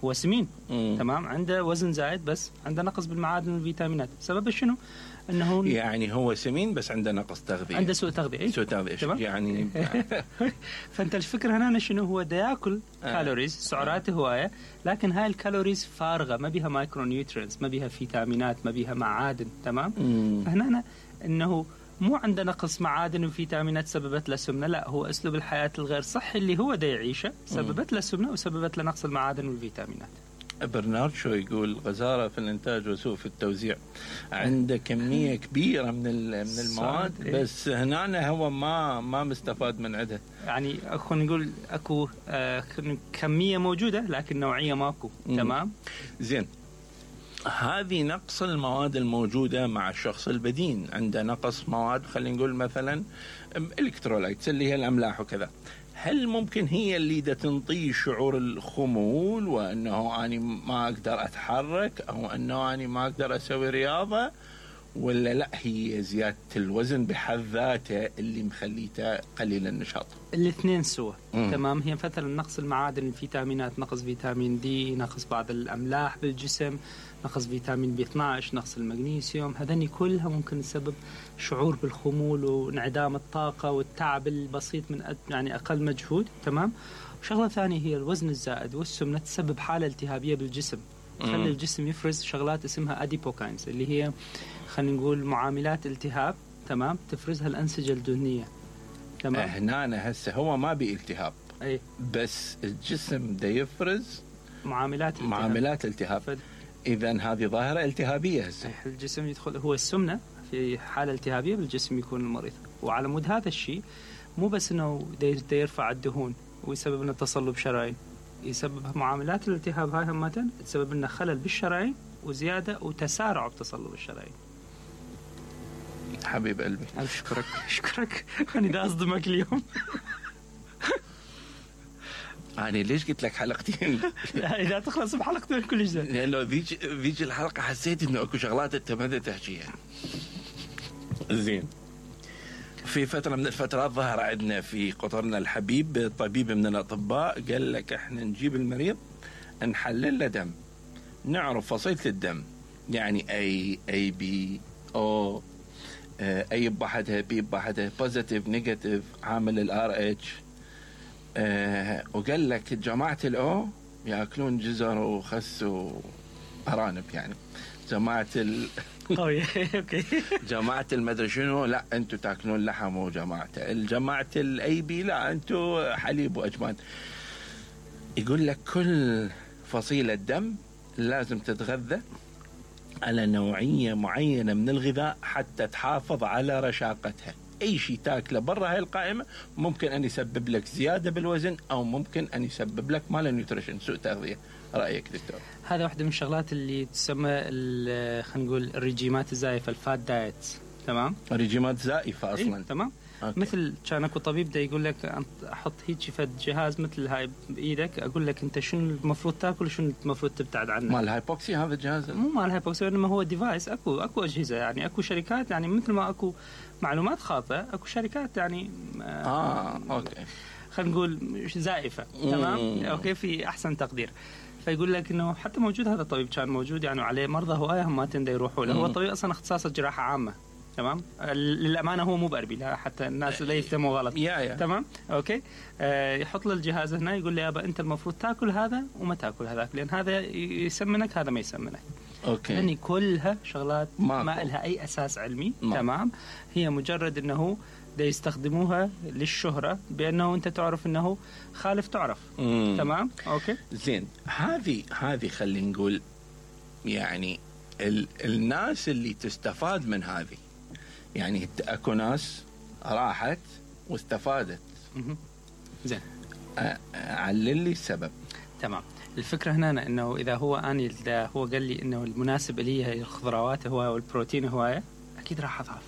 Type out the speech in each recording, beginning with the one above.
هو سمين تمام، عنده وزن زايد بس عنده نقص بالمعادن والفيتامينات. سبب شنو؟ انه يعني هو سمين بس عنده نقص تغذية، عنده سوء تغذية. سوء تغذية يعني فانت الفكرة هنا شنو؟ هو دا ياكل كالوريز، سعراته هواية، لكن هاي الكالوريز فارغة، ما بيها مايكرو نيوترينز، ما بيها فيتامينات، ما بيها معادن. تمام. فهنا انه مو عنده نقص معادن وفيتامينات سببت له سمنة، لا، هو اسلوب الحياة الغير صحي اللي هو دا يعيشه سببت له سمنة وسببت له نقص المعادن والفيتامينات. برنارد شو يقول غزارة في الإنتاج وسوء في التوزيع، عنده كمية كبيرة من المواد بس هنا هو ما مستفاد من عدها. يعني خلينا نقول أكو كمية موجودة لكن نوعية ماكو. تمام. زين، هذه نقص المواد الموجودة مع الشخص البدين، عنده نقص مواد، خلينا نقول مثلا الكترولايتس اللي هي الأملاح وكذا، هل ممكن هي اللي دا تنطيه شعور الخمول وأنه أنا ما أقدر أتحرك أو أنه أنا ما أقدر أسوي رياضة، ولا لا هي زيادة الوزن بحد ذاته اللي مخليته قليل النشاط؟ الاثنين سوا. تمام. هي مثلا نقص المعادن، الفيتامينات، نقص فيتامين دي، نقص بعض الأملاح بالجسم، نقص فيتامين بي 12، نقص المغنيسيوم، هذني كلها ممكن تسبب شعور بالخمول وانعدام الطاقة والتعب البسيط من يعني أقل مجهود. تمام. وشغلة ثانية هي الوزن الزائد والسمنة تسبب حالة التهابية بالجسم، تخلي الجسم يفرز شغلات اسمها أديبوكاينز اللي هي خلينا نقول معاملات التهاب. تمام. تفرزها الأنسجة الدهنية. تمام. هنا هسه هو ما بيلتهاب، أي، بس الجسم دا يفرز معاملات التهاب. إذن هذه ظاهرة التهابية هسه. الجسم يدخل، هو السمنة في حالة التهابية بالجسم يكون المريض. وعلى مود هذا الشيء مو بس إنه دا يرفع الدهون ويسبب لنا تصلب شرايين، يسبب معاملات الالتهاب هاي همتين تسبب لنا خلل بالشرايين وزيادة وتسارع بتصلب الشرايين. حبيب قلبي، أشكرك أنا دا أصدمك اليوم. أنا ليش قلت لك حلقتين؟ إذا تخلص بحلقتين كل شيء، لأنه ذيك الحلقة حسيت إنه أكو شغلات أنت ما تحكيها. زين، في فترة من الفترات ظهر عندنا في قطرنا الحبيب طبيب من الأطباء قال لك إحنا نجيب المريض نحلل له دم، نعرف فصيلة الدم، يعني أي بي أو أي بحدها بي بحدها بوزيتيف نيجاتيف، عامل الار اتش. وقال لك جماعة الأو يأكلون جزر وخس وأرانب، يعني جماعة اوكي جماعة المدري شنو لا انتوا تاكلون لحم، وجماعة الجماعة الاي بي لا انتوا حليب واجبان. يقول لك كل فصيلة دم لازم تتغذى على نوعية معينة من الغذاء حتى تحافظ على رشاقتها. اي شيء تاكله برا هاي القائمة ممكن ان يسبب لك زيادة بالوزن او ممكن ان يسبب لك مال نيوتريشن، سوء تغذية. رأيك دكتور؟ هذا واحدة من الشغلات اللي تسمى خلينا نقول الرجيمات الزائفة، الفات دايتس. تمام. رجيمات زائفة اصلا. تمام. مثل كان اكو طبيب دا يقول لك احط هيك فد جهاز مثل هاي بايدك، اقول لك انت شنو المفروض تاكل وشنو المفروض تبتعد عنه. مال الهايبوكسي هذا الجهاز؟ مو مال الهايبوكسي، انما هو ديفايس. اكو اجهزه، يعني اكو شركات، يعني مثل ما اكو معلومات خاطئه اكو شركات يعني اوكي خلينا نقول زائفه. تمام. اوكي، في احسن تقدير. فيقول لك انه حتى موجود هذا الطبيب كان موجود يعني عليه مرضى هوايه هم ما تندى يروحوا له. هو طبيب اصلا اختصاصه جراحه عامه. تمام. للامانه هو مو باربي، لا حتى الناس لا يفهموا غلط. تمام. اوكي. يحط له الجهاز هنا يقول لي يابا انت المفروض تاكل هذا وما تاكل هذاك، لان هذا يسمنك هذا ما يسمنك. اوكي. يعني كلها شغلات ما لها اي اساس علمي. تمام. هي مجرد انه دا يستخدموها للشهرة، بأنه أنت تعرف أنه خالف تعرف. تمام. أوكي. زين، هذه خلينا نقول يعني الناس اللي تستفاد من هذه، يعني أكو ناس راحت واستفادت. زين، علل لي السبب. تمام. الفكرة هنا أنه إذا هو هو قال لي أنه المناسب لي هي الخضروات هواية والبروتين هواية، أكيد راح أضعف.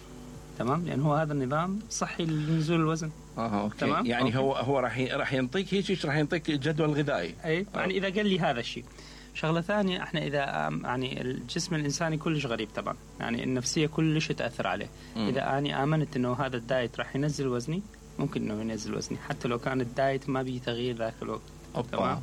تمام. يعني هو هذا النظام صحي لنزول الوزن. أوكي. تمام. يعني أوكي. هو راح ينطيك هيك، راح ينطيك جدول غذائي. أي. يعني إذا قال لي هذا الشيء. شغلة ثانية، احنا إذا يعني الجسم الإنساني كلش غريب طبعا، يعني النفسية كلش تأثر عليه. إذا أنا آمنت إنه هذا الدايت راح ينزل وزني، ممكن إنه ينزل وزني حتى لو كان الدايت ما بيه تغيير ذاك الوقت. أوبا.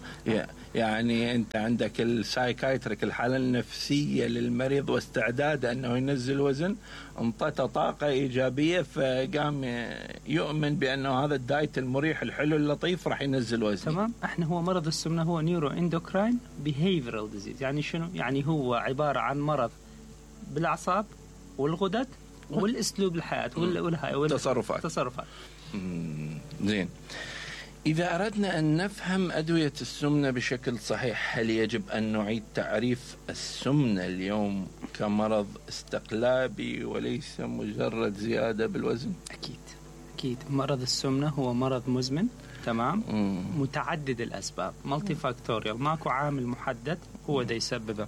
يعني أنت عندك السايكايتريك، الحالة النفسية للمريض واستعداد أنه ينزل وزن، انطته طاقة إيجابية فقام يؤمن بأنه هذا الدايت المريح الحلو اللطيف راح ينزل وزن. تمام. احنا هو مرض السمنة هو نيورو اندوكراين بيهيفيرال ديزيز. يعني شنو؟ يعني هو عبارة عن مرض بالأعصاب والغدد والأسلوب الحياة والتصرفات. زين، إذا أردنا أن نفهم أدوية السمنة بشكل صحيح، هل يجب أن نعيد تعريف السمنة اليوم كمرض استقلابي وليس مجرد زيادة بالوزن؟ أكيد مرض السمنة هو مرض مزمن، تمام، متعدد الأسباب، مالتي فاكتوريال، ماكو عامل محدد هو ده يسببه.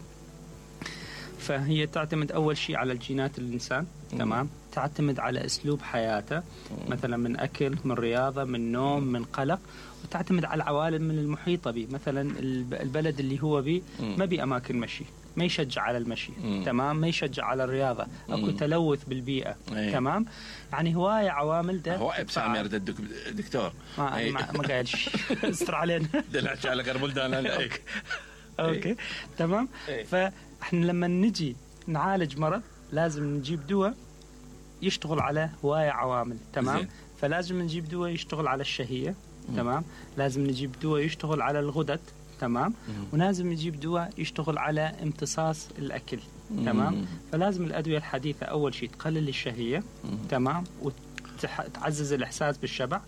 فهي تعتمد أول شيء على الجينات الإنسان، تمام، تعتمد على أسلوب حياته، مثلا من أكل، من رياضة، من نوم، من قلق، وتعتمد على العوالم من المحيطة به. مثلا البلد اللي هو به ما بي أماكن مشي، ما يشجع على المشي، تمام، ما يشجع على الرياضة، أكو تلوث بالبيئة، تمام، يعني هواية عوامل ده. هو إبسام يرد الدكتور ما قايل شيء استر علينا دلعش على قربول دانا. أوكي تمام. فإحنا لما نجي نعالج مرض لازم نجيب دواء يشتغل على هواية عوامل، تمام. فلازم نجيب دواء يشتغل على الشهية، تمام، لازم نجيب دواء يشتغل على الغدد، تمام، ولازم نجيب دواء يشتغل على امتصاص الأكل، تمام. فلازم الأدوية الحديثة أول شيء تقلل الشهية، تمام، وتعزز الإحساس بالشبع،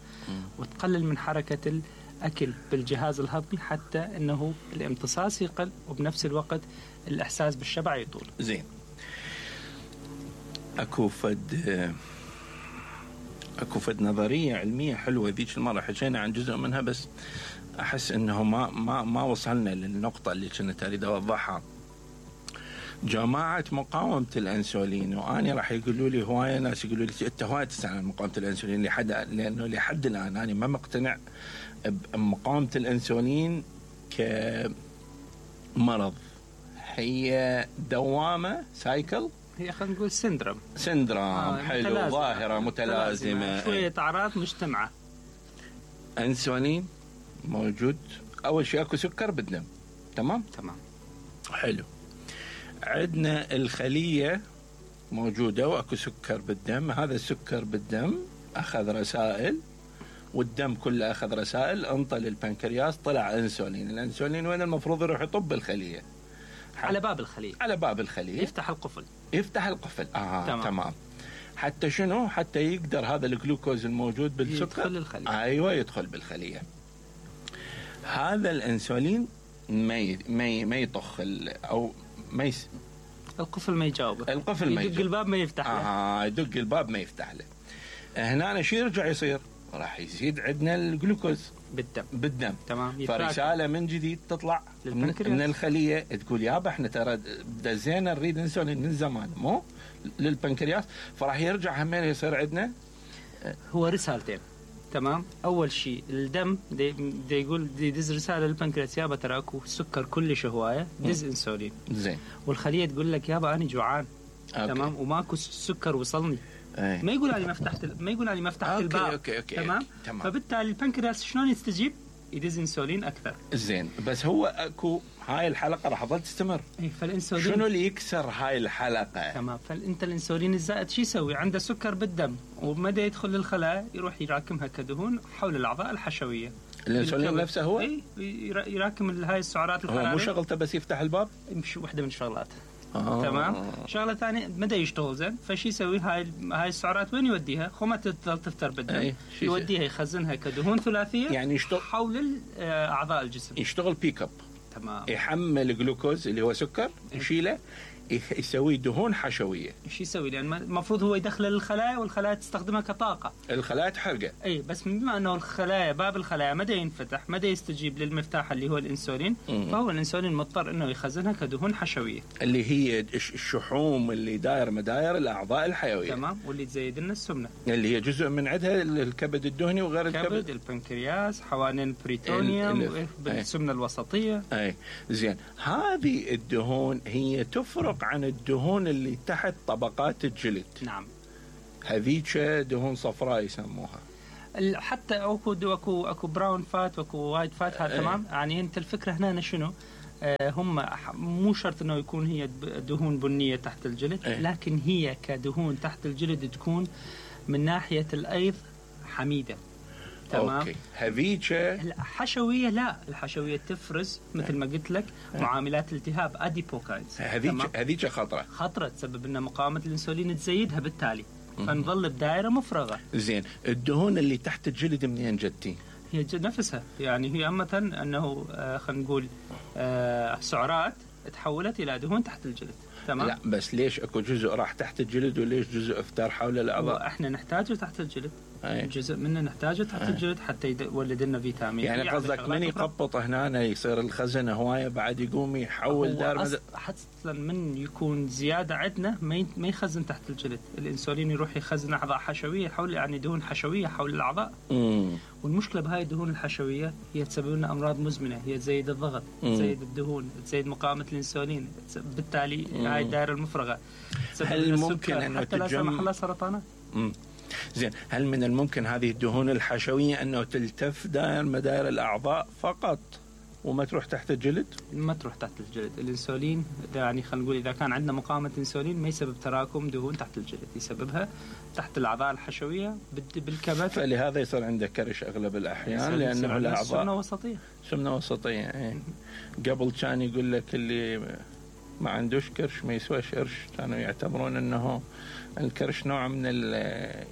وتقلل من حركة الأكل بالجهاز الهضمي حتى أنه الامتصاص يقل وبنفس الوقت الإحساس بالشبع يطول. زين، أكو فد نظرية علمية حلوة ذيك المرة حكينا عن جزء منها، بس أحس إنه ما وصلنا للنقطة اللي كنت أريد أوضحها. جماعة مقاومة الأنسولين، وأنا راح يقولوا لي هواية ناس يقولوا لي أنت هواية تسأل عن مقاومة الأنسولين، لأنه لحد الآن أنا ما مقتنع بمقاومة الأنسولين كمرض. هي دوامة، سايكل، هي خلينا نقول سندروم حلو، ظاهرة متلازمة، شوية أعراض مجتمعة. أنسولين موجود، أول شيء أكو سكر بالدم، تمام حلو. عندنا الخلية موجودة وأكو سكر بالدم، هذا السكر بالدم أخذ رسائل والدم كله أخذ رسائل، انطى للبنكرياس، طلع أنسولين. الأنسولين وين المفروض يروح يطب الخلية؟ على باب الخلية يفتح القفل. تمام. حتى شنو؟ حتى يقدر هذا الجلوكوز الموجود بالسكر يدخل الخلية. أيوة، يدخل بالخلية. هذا الأنسولين ما يطخ أو ما القفل ما يجاوبه، يدق الباب ما يفتح له. يدق الباب ما يفتح له. هنا شو يرجع يصير؟ راح يزيد عندنا الجلوكوز بالدم، تمام. فرسالة من جديد تطلع من الخلية تقول يابا احنا ترى دزينا نريد انسولين من زمان مو للبنكرياس، فراح يرجع همين يصير عندنا هو رسالتين، تمام. أول شيء الدم دي يقول يدز رسالة للبنكرياس يابا ترى اكو سكر كلش هواية، دز انسولين. زين. والخلية تقول لك يابا أنا جوعان، تمام، وماكو سكر وصلني. ما يقول علي ما فتحت الباب. أوكي. تمام. فبالتالي البنكرياس شلون يستجيب؟ يدز انسولين اكثر. زين، بس هو اكو هاي الحلقه راح تظل تستمر. فالانسولين شنو اللي يكسر هاي الحلقه؟ تمام. فانت الانسولين الزائد شو يسوي؟ عنده سكر بالدم ومدى يدخل للخلايا يروح يراكمها كدهون حول الاعضاء الحشويه. الانسولين نفسه هو يراكم هاي السعرات الحراريه. هو مو شغلته بس يفتح الباب؟ مش واحده من الشغلات. تمام. شغله ثانيه مدى يشتغل زين، فشي يسوي هاي السعرات وين يوديها؟ خو تظل تفتر بالدم، يوديها يخزنها كدهون ثلاثيه، يعني يشتغل حول اعضاء الجسم، يشتغل بيك اب. تمام. يحمل جلوكوز اللي هو سكر، يشيله، يسوي دهون حشويه. ايش يسوي؟ لان المفروض هو يدخله للخلايا والخلايا تستخدمها كطاقه، الخلايا تحرقه. بس بما انه الخلايا باب الخلايا مدى ينفتح، مدى يستجيب للمفتاح اللي هو الانسولين، فهو الانسولين مضطر انه يخزنها كدهون حشويه، اللي هي الشحوم اللي داير مداير الاعضاء الحيويه، تمام، واللي تزيد لنا السمنه، اللي هي جزء من عندها الكبد الدهني وغير الكبد، البنكرياس، حوالين البريتونيوم، بالسمنه الوسطيه. زين، هذه الدهون هي تفرق عن الدهون اللي تحت طبقات الجلد. نعم. هذيك دهون صفراء يسموها. حتى اكو براون فات واكو وايت فات، هذا تمام. يعني انت الفكره هنا شنو؟ هم مو شرط انه يكون هي دهون بنيه تحت الجلد، لكن هي كدهون تحت الجلد تكون من ناحيه الايض حميده. تمام. اوكي. هذيك الحشويه لا، الحشويه تفرز مثل ما قلت لك معاملات التهاب اديبوكاينز. هذيك خطره تسبب لنا مقاومه الانسولين تزيدها، بالتالي فنظل بدائره مفرغه. زين، الدهون اللي تحت الجلد منين جتي؟ هي نفسها، يعني هي عامه انه خلينا نقول سعرات تحولت الى دهون تحت الجلد. تمام. لا بس ليش اكو جزء راح تحت الجلد وليش جزء افتر حول الاعضاء؟ احنا نحتاجه تحت الجلد. جزء منه نحتاجه تحت الجلد حتى يولد لنا فيتامين. يعني قصدك من يقبط هنا يصير الخزن هوايه بعد يقوم يحول دار حتى من يكون زياده عندنا ما يخزن تحت الجلد، الانسولين يروح يخزن اعضاء حشويه حول، يعني دهون حشويه حول الاعضاء. والمشكله بهاي الدهون الحشويه هي تسبب لنا امراض مزمنه، هي تزيد الضغط، تزيد الدهون، تزيد مقاومه الانسولين، بالتالي هاي الدائره المفرغه. هل ممكن انه حتى لا سمح الله سرطانات؟ زين، هل من الممكن هذه الدهون الحشويه انه تلتف مدائر الاعضاء فقط وما تروح تحت الجلد؟ ما تروح تحت الجلد. الانسولين يعني خلينا نقول اذا كان عندنا مقاومه انسولين ما يسبب تراكم دهون تحت الجلد، يسببها تحت الاعضاء الحشويه بالكبد. فلهذا يصير عنده كرش اغلب الاحيان، لانه الاعضاء سمنه وسطيه. قبل كان يقول لك اللي ما عندوش كرش ما يسواش قرش، كانوا يعتبرون انه الكرش نوع من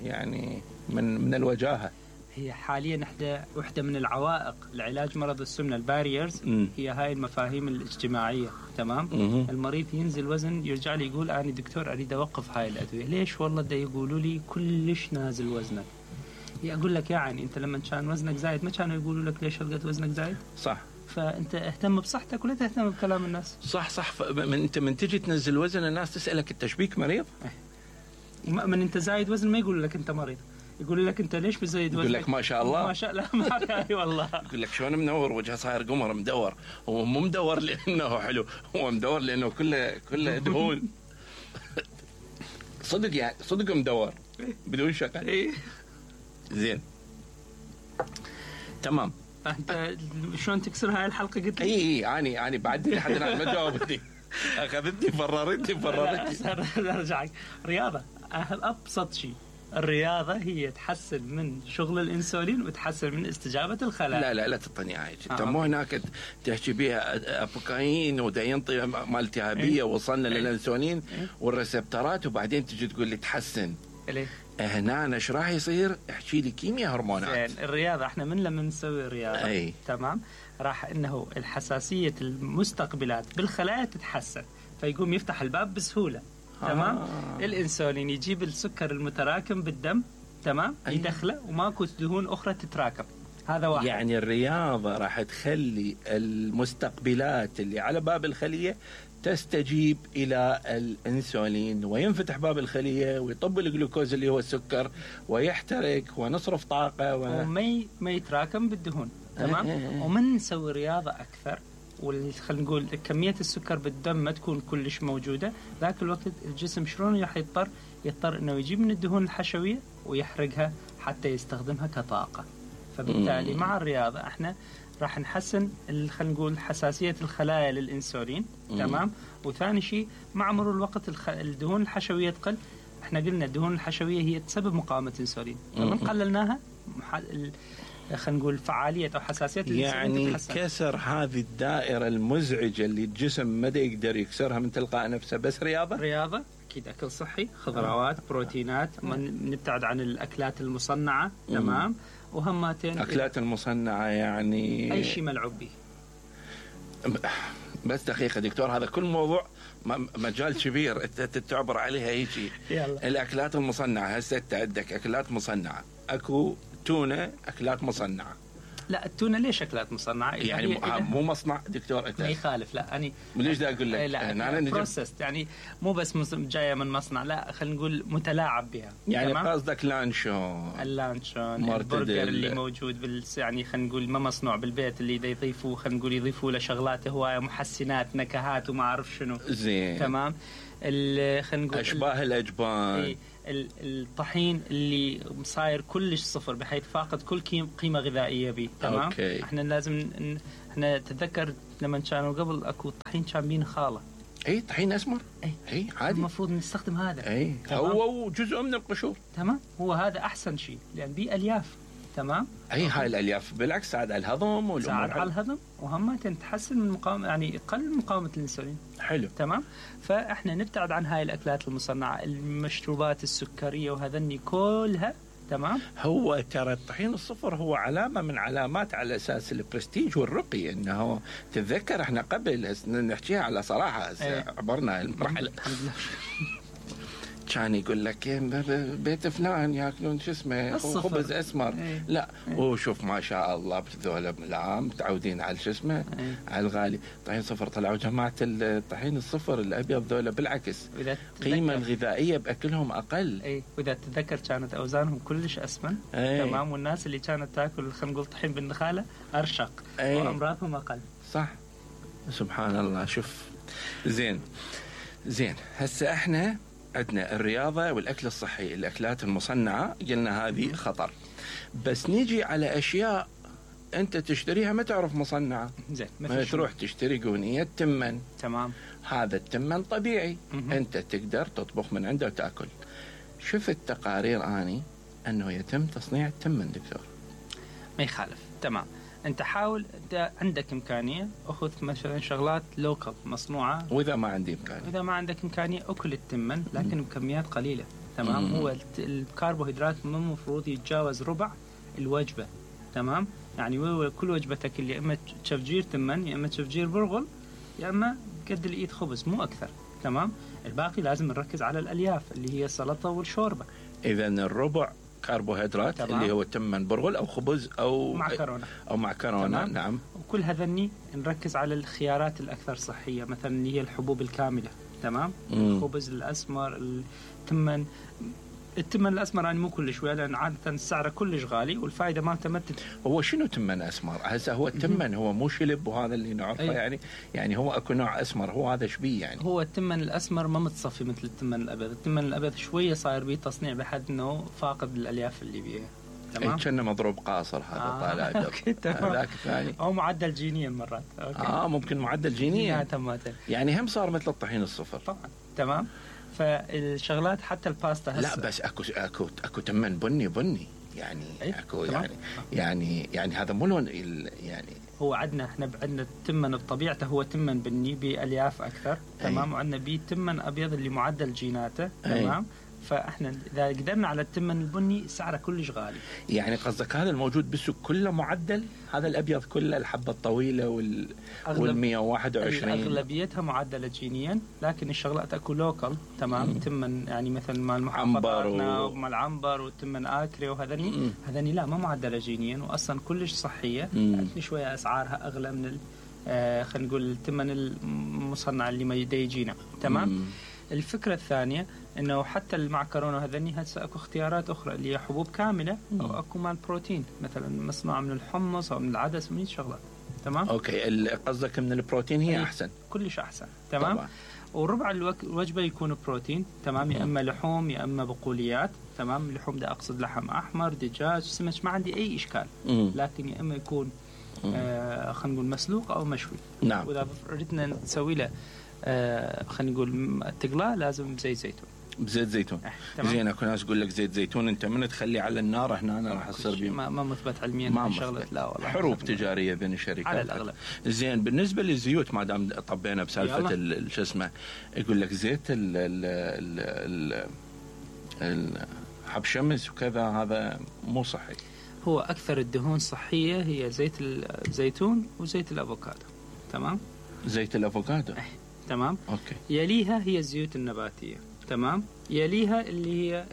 يعني من الوجاهه. هي حاليا وحده من العوائق لعلاج مرض السمنه، الباريرز، هي هاي المفاهيم الاجتماعيه. تمام. المريض ينزل وزن يرجع لي يقول انا دكتور اريد اوقف هاي الادويه. ليش؟ والله دا يقولوا لي كلش نازل وزنك. اقول لك يعني انت لما كان وزنك زايد ما كانوا يقولوا لك ليش هلقت وزنك زايد؟ صح. فانت اهتم بصحتك ولا تهتم بكلام الناس. صح. انت من تجي تنزل وزن الناس تسالك انت شبيك مريض؟ من انت زايد وزن ما يقول لك انت مريض، يقول لك انت ليش بزايد وزن؟ يقول لك ما شاء الله. ما شاء الله. ما والله. يقول لك شلون منور وجهه صاير قمر مدور. هو مو مدور لانه حلو، هو مدور لانه كله دهون. صدق يعني، صدق مدور بدون شقه. زين تمام. انت شلون تكسر هاي الحلقه قلت لي؟ اي بعد لحد الان ما جاوبتني. اخذتني فررتني. ارجعك. رياضه ابسط شيء، الرياضه هي تحسن من شغل الانسولين وتحسن من استجابه الخلايا. لا تطني هاي. انت مو هناك تحكي بها ابوكاين ودا ينطي مال التهابيه وصلنا للانسولين والريسبترات وبعدين تجي تقول لي تحسن. ليه؟ هنا ايش راح يصير؟ احكي لي كيمياء هرمونات. الرياضه احنا لما نسوي رياضه تمام راح انه الحساسيه المستقبلات بالخلايا تتحسن، فيقوم يفتح الباب بسهوله. تمام. الانسولين يجيب السكر المتراكم بالدم، تمام، يدخله وماكو دهون اخرى تتراكم. هذا واحد. يعني الرياضه راح تخلي المستقبلات اللي على باب الخليه تستجيب إلى الأنسولين وينفتح باب الخلية ويطب الجلوكوز اللي هو السكر ويحترق ونصرف طاقة وما يتراكم بالدهون. تمام. ومن نسوي رياضة أكثر خلينا نقول كمية السكر بالدم ما تكون كلش موجودة، ذاك الوقت الجسم شلون راح يضطر إنه يجيب من الدهون الحشوية ويحرقها حتى يستخدمها كطاقة. فبالتالي مع الرياضة احنا راح نحسن خلينا نقول حساسية الخلايا للإنسولين. تمام. وثاني شيء مع مرور الوقت الدهون الحشوية تقل. احنا قلنا الدهون الحشوية هي تسبب مقاومة الإنسولين، فمن قللناها خلينا نقول فعالية أو حساسية الإنسولين يعني تتحسن. كسر هذه الدائرة المزعجة اللي الجسم ما يقدر يكسرها من تلقاء نفسه بس رياضة أكيد أكل صحي، خضروات، بروتينات، نبتعد عن الأكلات المصنعة. تمام. وهماتين أكلات المصنعة يعني أي شيء ملعوب به. بس دقيقة دكتور، هذا كل موضوع مجال كبير تعبر عليها هيجي. الأكلات المصنعة هسه عندك أكلات مصنعة، أكو تونة أكلات مصنعة. لا التونة ليش أكلات مصنعة؟ يعني مو مصنع دكتور أنت. ما يخالف. لا أنا ليش دا أقول لك؟ لا بروسست، يعني مو بس جاية من مصنع، لا خلينا نقول متلاعب بها. يعني قصدك اللانشون البرجر اللي موجود يعني خلينا نقول ما مصنوع بالبيت، اللي يضيفوا خلينا نقول يضيفوا له شغلات هواية محسنات نكهات وما أعرف شنو. زين. تمام. خلينا نقول أشباه الأجبان. الطحين اللي صاير كلش صفر بحيث فاقد كل قيمة غذائية به. تمام. أوكي. احنا لازم احنا تتذكر لما كانوا قبل اكو طحين كان بين خالة. اي طحين اسمر. اي عادي. المفروض نستخدم هذا. اي هو جزء من القشور. تمام. هو هذا احسن شيء لان بيه الياف. تمام. اي هاي الالياف بالعكس تساعد على الهضم تساعد على الهضم وهم تحسن من مقاومة يعني يقلل مقاومة الانسولين. حلو. تمام. فاحنا نبتعد عن هاي الاكلات المصنعة، المشروبات السكرية وهذني كلها. تمام. هو ترى الطحين الصفر هو علامة من علامات على أساس البرستيج والرقي، إنه تتذكر إحنا قبل نحكيها على صراحة عبرنا المرحلة كان يقول لك بيت فلان ياكلون شو اسمه خبز اسمر. لا وشوف ما شاء الله بذولا لا متعودين على شو اسمه على الغالي. طحين صفر طلعوا جماعه الطحين الصفر الابيض ذولا بالعكس قيمه الغذائيه باكلهم اقل. واذا تتذكر كانت اوزانهم كلش اسمن. تمام. والناس اللي كانت تاكل خلينا نقول طحين بالنخاله ارشق وامراضهم اقل. صح. سبحان الله. شوف زين هسه احنا عندنا الرياضة والأكل الصحي، الأكلات المصنعة قلنا هذه خطر، بس نيجي على أشياء أنت تشتريها ما تعرف مصنعة. زين. ما تروح تشتري قونية تمن. تمام. هذا التمن طبيعي. أنت تقدر تطبخ من عنده وتأكل. شفت تقارير أني أنه يتم تصنيع التمن دكتور. ما يخالف. تمام. انت حاول عندك امكانيه اخذ مثلا شغلات لوكال مصنوعه. واذا ما عندي امكانيه، اذا ما عندك امكانيه اكل التمن لكن بكميات قليله. تمام. هو الكربوهيدرات مو المفروض يتجاوز ربع الوجبه. تمام. يعني كل وجبتك اللي اما تشفجير تمن يا اما تشفجير برغل يا اما قد الايد خبز مو اكثر. تمام. الباقي لازم نركز على الالياف اللي هي السلطه والشوربه. اذا الربع كربوهيدرات اللي هو تمن برغل او خبز او معكرونه. نعم. وكل هذني نركز على الخيارات الاكثر صحيه مثلا اللي هي الحبوب الكامله. تمام. الخبز الاسمر، التمن الاسمر يعني مو كل شويه لان عاده سعره كلش غالي والفائده مالته ما هو شنو تمن اسمر؟ هسه هو التمن هو مو شلب وهذا اللي نعرفه. يعني هو اكو نوع اسمر هو هذا شبيه يعني. هو التمن الاسمر ما متصفي مثل التمن الابيض. التمن الابيض شويه صاير به تصنيع بحد انه فاقد الالياف اللي بيها. تمام. كأنه مضروب قاصر هذا طالع. هذاك الثاني او معدل جينيا مرات. ممكن معدل جينيا. يعني هم صار مثل الطحين الصفر طبعا. تمام. فالشغلات حتى الباستا هسه لا بس اكو تمن بني يعني. اكو يعني هذا مو لون يعني. هو احنا عندنا التمن بطبيعته هو تمن بني بالياف اكثر. تمام. وعندنا بيه تمن ابيض اللي معدل جيناته. تمام. فاحنا اذا قدرنا على التمن البني سعره كلش غالي. يعني قصدك هذا الموجود بالسوق كله معدل؟ هذا الابيض كله الحبه الطويله وال 121 اغلبيتها معدله جينيا لكن الشغلات اكو لوكال. تمام. تمن يعني مثل مال محافظاتنا ومال عنبر والتمن اكري هذني لا ما معدله جينيا واصلا كلش صحيه. لكن شويه اسعارها اغلى من خلينا نقول التمن المصنع اللي ما يجينا. تمام. الفكرة الثانية انه حتى المعكرونة هذني هسه اكو اختيارات اخرى اللي هي حبوب كاملة او اكو مال بروتين مثلا مصنوعة من الحمص او من العدس من شغلات. تمام. اوكي. قصدك من البروتين هي احسن كلش احسن. تمام طبعا. وربع الوجبة يكون بروتين. تمام. يا اما لحوم يا اما بقوليات. تمام. اللحوم ده اقصد لحم احمر دجاج سمك ما عندي اي اشكال. لكن يا اما يكون خلينا نقول مسلوق او مشوي. نعم. واذا ردنا نسوي له خلينا نقول تقلاه لازم زيت زيتون. بزيت زيتون. زين. اكو ناس يقول لك زيت زيتون انت من تخليه على النار هنا راح يصير بيه ما مثبت علميا شغله. لا والله حروب تجاريه بين الشركات على الاغلب. زين. بالنسبه للزيوت ما دام طبينا بسالفه شو اسمه يقول لك زيت حب شمس وكذا هذا مو صحي. هو اكثر الدهون صحيه هي زيت الزيتون وزيت الافوكادو. تمام. زيت الافوكادو. تمام. اوكي. يليها هي الزيوت النباتيه. تمام. يليها اللي هي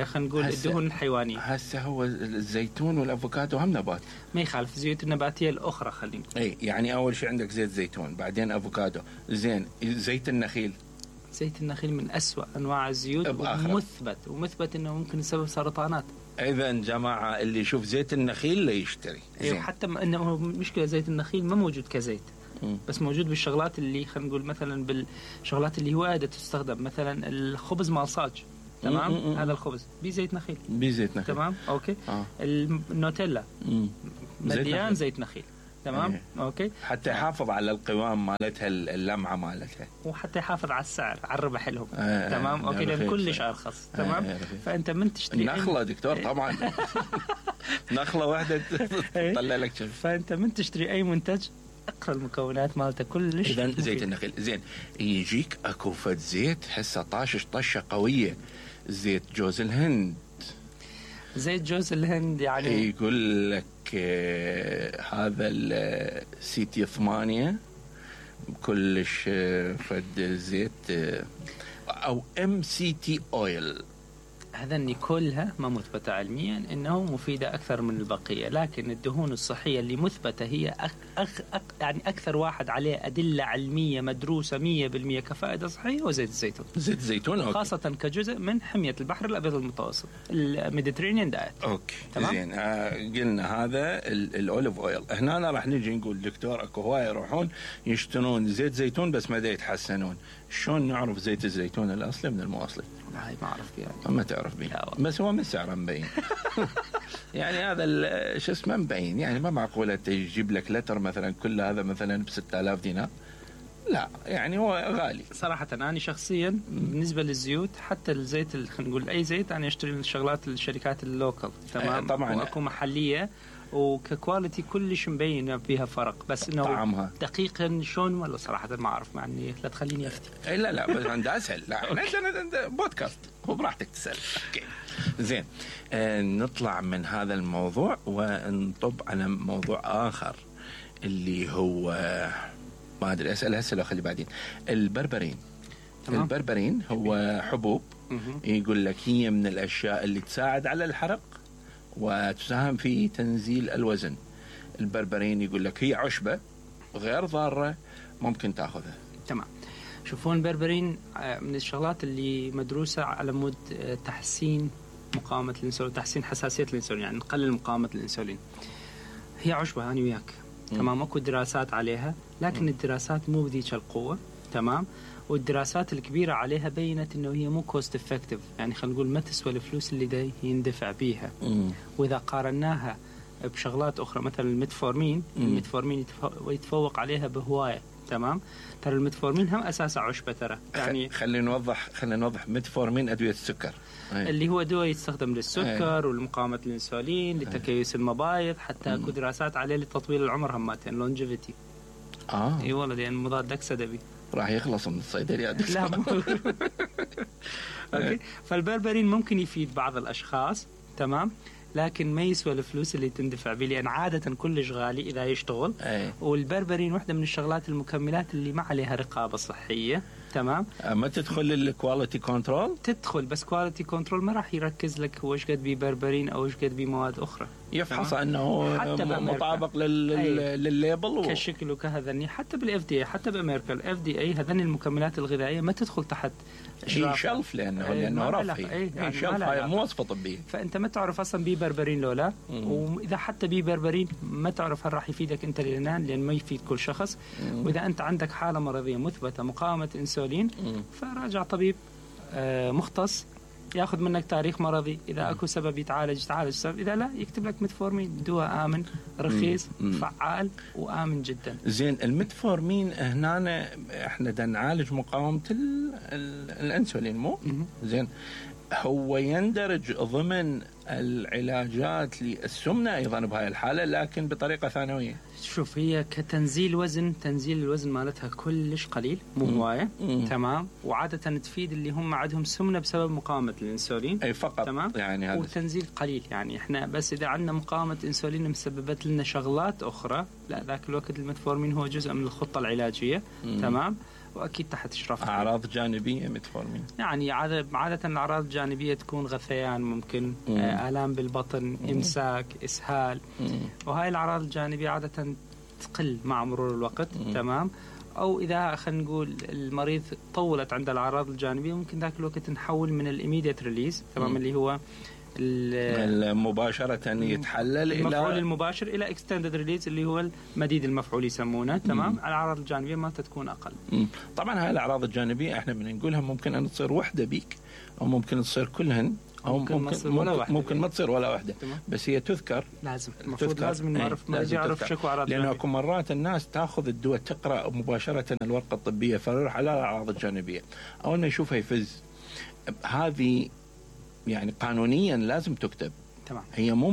خلينا نقول الدهون الحيوانيه. هسه هو الزيتون والافوكادو هم نبات. ما يخالف. الزيوت النباتيه الاخرى خلينا اي يعني اول شيء عندك زيت زيتون بعدين افوكادو. زين. زيت النخيل. زيت النخيل من أسوأ انواع الزيوت ومثبت انه ممكن يسبب سرطانات. اذا جماعه اللي يشوف زيت النخيل لا يشتري. ايوه. حتى انه مشكله زيت النخيل ما موجود كزيت بس موجود بالشغلات اللي خلينا نقول مثلا بالشغلات اللي وايد تستخدم مثلا الخبز مال صاج. تمام. هذا الخبز بزيت نخيل. بزيت نخيل. تمام. اوكي. النوتيلا مليان زيت نخيل. تمام. اوكي. حتى يحافظ على القوام مالتها، اللمعه مالتها، وحتى يحافظ على السعر، على الربح لهم. تمام. اوكي. لان كلش ارخص. تمام. فانت من تشتري نخله دكتور طبعا نخله واحده تطلع لك شيء. فانت من تشتري اي منتج اقرا المكونات مالته كلش. اذا زيت النخيل زين، يجيك اكو فد زيت حسه طشه قويه، زيت جوز الهند. زيت جوز الهند يعني يقول لك هذا السيتي 8 كلش فد زيت او MCT اويل. هذني كلها ما مثبتة علميا انه مفيدة اكثر من البقية، لكن الدهون الصحية اللي مثبتة هي يعني اكثر واحد عليه ادلة علمية مدروسة 100% كفائدة صحية هو زيت الزيتون. زيت الزيتون خاصة كجزء من حمية البحر الابيض المتوسط، الميديترينيان دايت. اوكي. زين قلنا هذا الاوليف اويل. هنا راح نجي نقول دكتور اكو هواي يروحون يشترون زيت زيتون بس ما يتحسنون. شلون نعرف زيت الزيتون الاصلي من المواصلي؟ هاي ما اعرف يعني. ما تعرف بيه، بس هو من سعره مبين يعني هذا شو اسمه مبين، يعني ما معقوله تجيب لك لتر مثلا كل هذا مثلا ب$6000 دينار، لا يعني هو غالي صراحه. انا شخصيا بالنسبه للزيوت حتى الزيت خلينا نقول اي زيت انا اشتري الشغلات الشركات اللوكال. تمام. طبعا واكو محليه وككواليتي كلش مبين فيها فرق، بس انه طعمها دقيقا شلون ولا صراحه ما اعرف. يعني لا تخليني افتي. لا بس عند اسهل. لا عندنا بودكاست هو براحتك تسال. اوكي زين. نطلع من هذا الموضوع ونطب على موضوع اخر اللي هو ما ادري اسال هسه لو خلي بعدين. البربرين. تمام. البربرين هو حبوب يقول لك هي من الاشياء اللي تساعد على الحرق وتساهم في تنزيل الوزن. البربرين يقول لك هي عشبة غير ضارة ممكن تأخذها. تمام. شوفون البربرين من الشغلات اللي مدروسة على مود تحسين مقاومة الانسولين، تحسين حساسية الانسولين، يعني نقلل مقاومة الانسولين. هي عشبة أنا وياك. تمام. اكو دراسات عليها، لكن الدراسات مو بذيك القوة. تمام. والدراسات الكبيرة عليها بينت انه هي مو كوست افكتيف، يعني خلينا نقول ما تسوى الفلوس اللي دا يندفع بيها. واذا قارناها بشغلات اخرى مثلا الميتفورمين، الميتفورمين يتفوق عليها بهواية. تمام. ترى الميتفورمين هم اساسا عشبة ترى. يعني خلينا نوضح ميتفورمين ادوية السكر اللي هو دواء يستخدم للسكر ولمقاومة الانسولين لتكيس المبايض، حتى اكو دراسات عليه لتطويل العمر هماتين لونجيفيتي. اي والله لان مضاد اكسده بي راح يخلص من الصيدليات. لا اوكي. فالبربرين ممكن يفيد بعض الاشخاص. تمام. لكن ما يسوى الفلوس اللي تندفع به، لان عاده كلش غالي اذا يشتغل. والبربرين واحده من الشغلات المكملات اللي ما عليها رقابه صحيه. تمام. ما تدخل الكواليتي كنترول، تدخل بس كواليتي كنترول ما راح يركز لك هو ايش قد بي بربرين او ايش قد بي مواد اخرى، يفحص انه مطابق للليبل كشكل وكهذني. حتى بالاف دي، حتى بامريكا الاف دي اي هذني المكملات الغذائيه ما تدخل تحت شلف لانه رفعي. شلف هاي مو وصفه طبيه، فانت ما تعرف اصلا بي بربرين لولا. واذا حتى بي بربرين ما تعرف هل راح يفيدك انت لان ما يفيد كل شخص. واذا انت عندك حاله مرضيه مثبته مقاومه انسولين فراجع طبيب مختص ياخذ منك تاريخ مرضي، اذا اكو سبب يتعالج سبب، اذا لا يكتب لك ميتفورمين، دواء امن رخيص فعال وامن جدا. زين. الميتفورمين هنا احنا بدنا نعالج مقاومه الانسولين مو زين. هو يندرج ضمن العلاجات للسمنه ايضا بهاي الحاله لكن بطريقه ثانويه. شوف هي كتنزيل وزن، تنزيل الوزن مالتها كلش قليل مو هوايه. تمام. وعاده تفيد اللي هم عندهم سمنه بسبب مقاومه الانسولين اي فقط. تمام. يعني هذا وتنزيل قليل. يعني احنا بس اذا عندنا مقاومه انسولين مسببت لنا شغلات اخرى، لا ذاك الوقت الميتفورمين هو جزء من الخطه العلاجيه. تمام. واكيد تحت اشراف اعراض جانبيه ميتفورمين، يعني عاده الاعراض الجانبيه تكون غثيان، ممكن الام بالبطن، امساك، اسهال. وهاي الاعراض الجانبيه عاده تقل مع مرور الوقت. تمام. او اذا خلينا نقول المريض طولت عند الاعراض الجانبيه ممكن ذاك الوقت نحول من الاميديت ريليز. تمام. اللي هو مباشرة يتحلل المفعول المباشر الى اكستندد ريليز اللي هو المديد المفعول يسمونه. تمام. الاعراض الجانبيه مالته تكون اقل. طبعا هاي الاعراض الجانبيه احنا بنقولها ممكن ان تصير وحده بيك او ممكن تصير كلهن او ممكن ما تصير ولا واحده. بس هي تذكر. لازم المفروض لازم نعرف ما يعرف شكو اعراض جانبيه، لانه مرات الناس تاخذ الدواء تقرا مباشره الورقه الطبيه فيروح على الاعراض الجانبيه، اول ما يشوفها يفز. هذه يعني قانونيا لازم تكتب. تمام. هي مو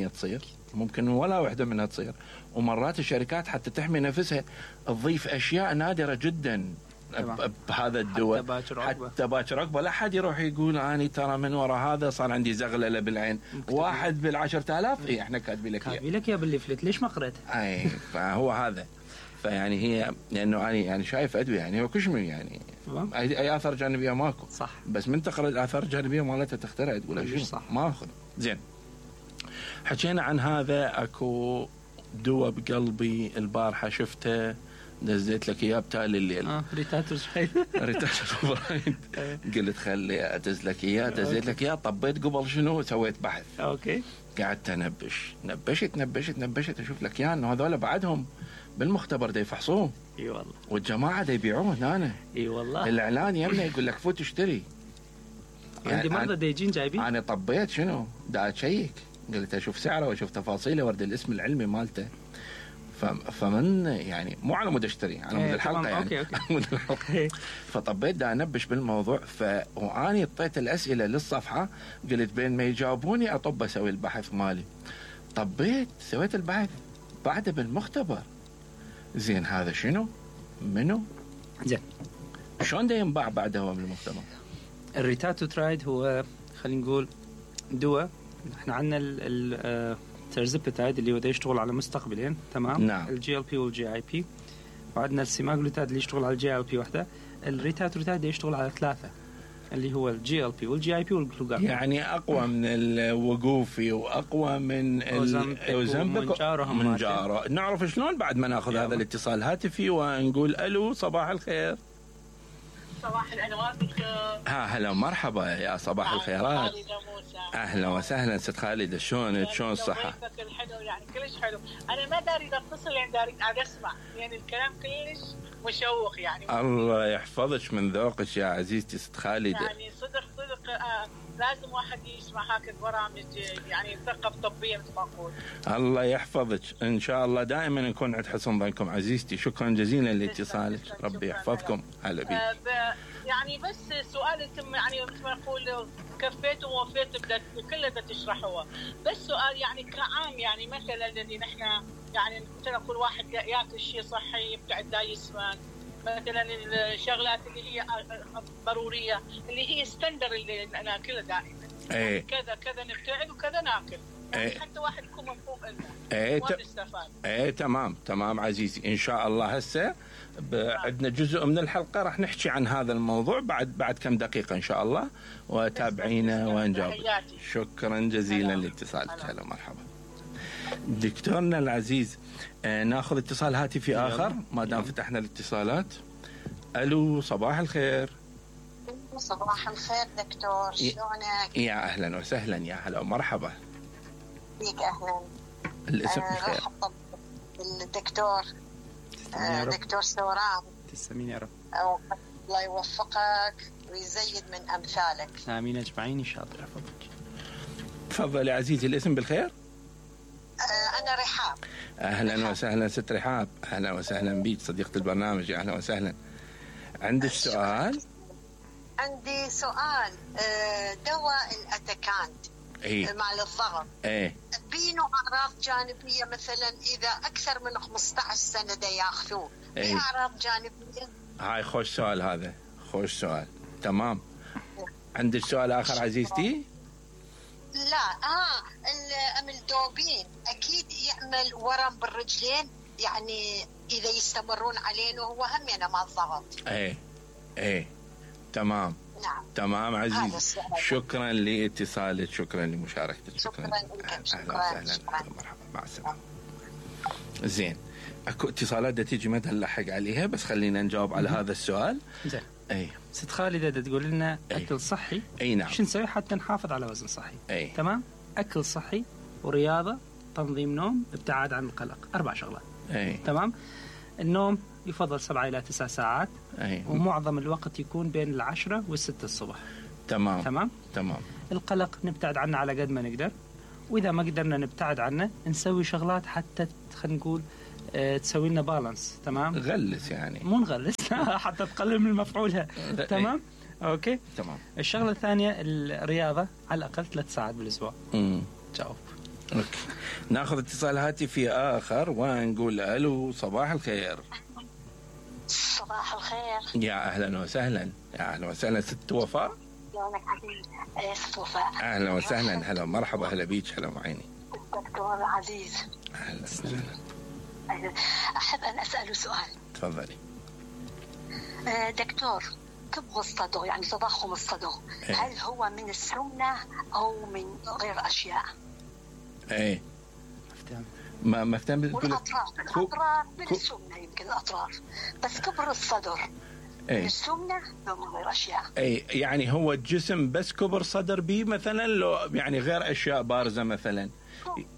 100% تصير، ممكن ولا واحده منها تصير، ومرات الشركات حتى تحمي نفسها تضيف اشياء نادره جدا بهذا الدواء حتى باكر عقبه لا حد يروح يقول اني ترى من وراء هذا صار عندي زغلله بالعين. واحد بال10,000 اي احنا كاتبين لك يا بالليفلت ليش ما قريت؟ اي فهو هذا. فيعني هي لانه انا يعني شايف ادويه يعني هو كشمي يعني اي اثار جانبيه ماكو. صح. بس من تقرا الاثار الجانبيه مالتها تخترع تقول شو صح ما اخذ. زين حكينا عن هذا. اكو دواء بقلبي البارحه شفته نزلت لك اياه بتالي الليل. ريتاتو برايد. قلت خلي ادز لك اياه. دزيت لك اياه. طبيت قبل شنو سويت بحث. اوكي. قعدت نبشت اشوف لك اياه انه هذول بعدهم بالمختبر دا يفحصوه. اي والله. والجماعه دا يبيعوه هنا. اي والله. الاعلان يمنا يقول لك فوت اشتري. عندي مرضى دا يجين جايبين. انا طبيت شنو دا اشيك. قلت اشوف سعره واشوف تفاصيله ورد الاسم العلمي مالته. فمن يعني مو على مود اشتري على مود الحلقه يعني. أوكي. فطبيت دا انبش بالموضوع. واني اعطيت الاسئله للصفحه قلت بين ما يجاوبوني اطب اسوي البحث مالي. طبيت سويت البحث بعده بالمختبر. زين هذا شنو؟ منو؟ زين شلون دا ينباع بعده هو بالمختبر؟ الريتاتو ترايد هو خلينا نقول دواء. احنا عندنا الترزبتايد اللي هو دا يشتغل على مستقبلين. تمام. نعم. الجي ال بي والجي اي بي. وعندنا السيماغلوتايد اللي يشتغل على الجي ال بي وحده. الريتاتو ترايد دا يشتغل على 3 اللي هو الجي ال بي والجي اي بي والجلوكاجون. يعني اقوى من الوقوفي واقوى من اوزمبيك من جاره. نعرف شلون بعد ما ناخذ هذا الاتصال هاتفي ونقول الو صباح الخير. صباح الانوار دكتور. هلا مرحبا يا صباح الخيرات. اهلا وسهلا ست خالد. شلون الصحه؟ الحلو يعني كلش حلو. انا ما داري اتصل يعني داري اسمع يعني الكلام كلش مشوق يعني. الله يحفظك من ذوقك يا عزيزتي ست خالد. يعني صدق لازم واحد يسمع هاك البرامج يعني ثقافة طبية مثل ما اقول. الله يحفظك ان شاء الله دائما نكون عند حسن ظنكم عزيزتي. شكرا جزيلا لاتصالك. ربي يحفظكم. هلا بيك. يعني بس سؤال انتم يعني مثل ما نقول كفيتوا ووفيتوا كله بدك تشرحوه. بس سؤال يعني كعام يعني مثلا الذي نحن يعني مثل نقول واحد ياكل شيء صحي يبتعد دا يسمن مثلا الشغلات اللي هي ضروريه اللي هي ستاندر اللي ناكلها دائما. ايه. كذا نبتعد وكذا ناكل. يعني ايه. حتى واحد يكون مفهوم لنا. ايه ايه تمام عزيزي. ان شاء الله هسه عندنا جزء من الحلقه راح نحكي عن هذا الموضوع بعد كم دقيقه ان شاء الله وتابعينا ونجاوب. شكرا جزيلا لاتصالك. هلا مرحبا دكتورنا العزيز. ناخذ اتصال هاتفي اخر ما دام فتحنا الاتصالات. الو صباح الخير. صباح الخير دكتور. شلونك؟ يا اهلا وسهلا. يا هلا ومرحبا بيك. اهلا. الاسم بخير. الدكتور دكتور سوران. تسلمين يا رب. الله يوفقك ويزيد من امثالك. امين اجمعين ان شاء الله. تفضل يا عزيزي. الاسم بالخير. انا رحاب. اهلا وسهلا ست رحاب. اهلا وسهلا بيك صديقة البرنامج. اهلا وسهلا. عندك سؤال؟ عندي سؤال. دواء الاتاكانت مع الضغط بينه اعراض جانبيه مثلا اذا اكثر من 15 سنه دا ياخذوه في اعراض جانبيه؟ هاي خوش سؤال. هذا خوش سؤال. تمام. عندك سؤال اخر عزيزتي؟ لا. الاملدوبين اكيد يعمل ورم بالرجلين يعني اذا يستمرون عليه وهو هم يعني مع الضغط. ايه تمام. نعم. تمام عزيز. شكرا لاتصالك. شكرا لمشاركتك. شكرا لك. مرحبا مع السلامه. زين اكو اتصالات تيجي ما نلحق عليها بس خلينا نجاوب على هذا السؤال. زين. ست خالدة تقول لنا أكل صحي. نعم. شو نسوي حتى نحافظ على وزن صحي؟ تمام. أكل صحي ورياضة، تنظيم نوم، ابتعاد عن القلق، 4 شغلات. تمام. النوم يفضل 7 إلى 9 ساعات. ومعظم الوقت يكون بين 10 و6 الصبح. تمام. القلق نبتعد عنه على قد ما نقدر، وإذا ما قدرنا نبتعد عنه نسوي شغلات حتى خلينا نقول تسوي لنا بالانس. تمام. نغلس يعني، مو نغلس حتى تقلل من مفعولها. تمام. اوكي. تمام. الشغله الثانيه الرياضه على الاقل 3 ساعات بالاسبوع. جاوب. اوكي. ناخذ اتصال هاتفي اخر ونقول الو. صباح الخير. صباح الخير. يا اهلا وسهلا. يا اهلا وسهلا ست وفاء. يومك عزيز. ست وفاء. اهلا وسهلا. هلا مرحبا. اهلا بيك. هلا معيني دكتور عزيز. اهلا وسهلا. احب ان اساله سؤال. تفضلي. دكتور، كبر الصدر يعني تضخم الصدر هل هو من السمنة او من غير اشياء؟ ما افتهم. الاطراف من السمنة، يمكن الاطراف، بس كبر الصدر من السمنة او من غير اشياء؟ يعني هو الجسم بس كبر صدر بيه مثلا، لو يعني غير اشياء بارزة مثلا؟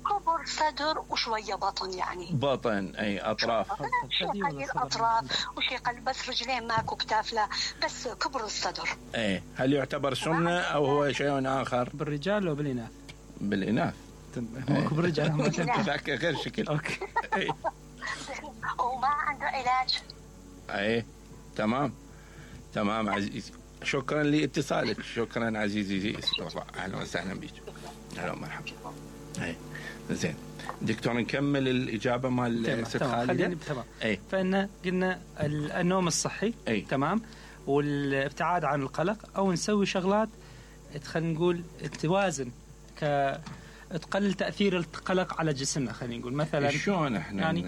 كبر صدر وشوية بطن، يعني بطن. اطراف. شيء الاطراف وشيء قلب، بس رجلين ماكو، كتاف لا، بس كبر الصدر. هل يعتبر سمنة او هو شيء اخر؟ بالرجال وبالاناث؟ بالاناث. كبر الرجال ما ذاك غير شكل. اوكي. وما عنده علاج. تمام عزيزي. شكرا لاتصالك. شكرا عزيزي. اهلا وسهلا بك. اهلا ومرحبا. زين دكتور، نكمل الإجابة مال ست خالدة. تمام. فإن قلنا النوم الصحي. تمام. والابتعاد عن القلق، أو نسوي شغلات خلينا نقول توازن تقلل تأثير القلق على جسمنا. خلينا نقول مثلا شلون احنا يعني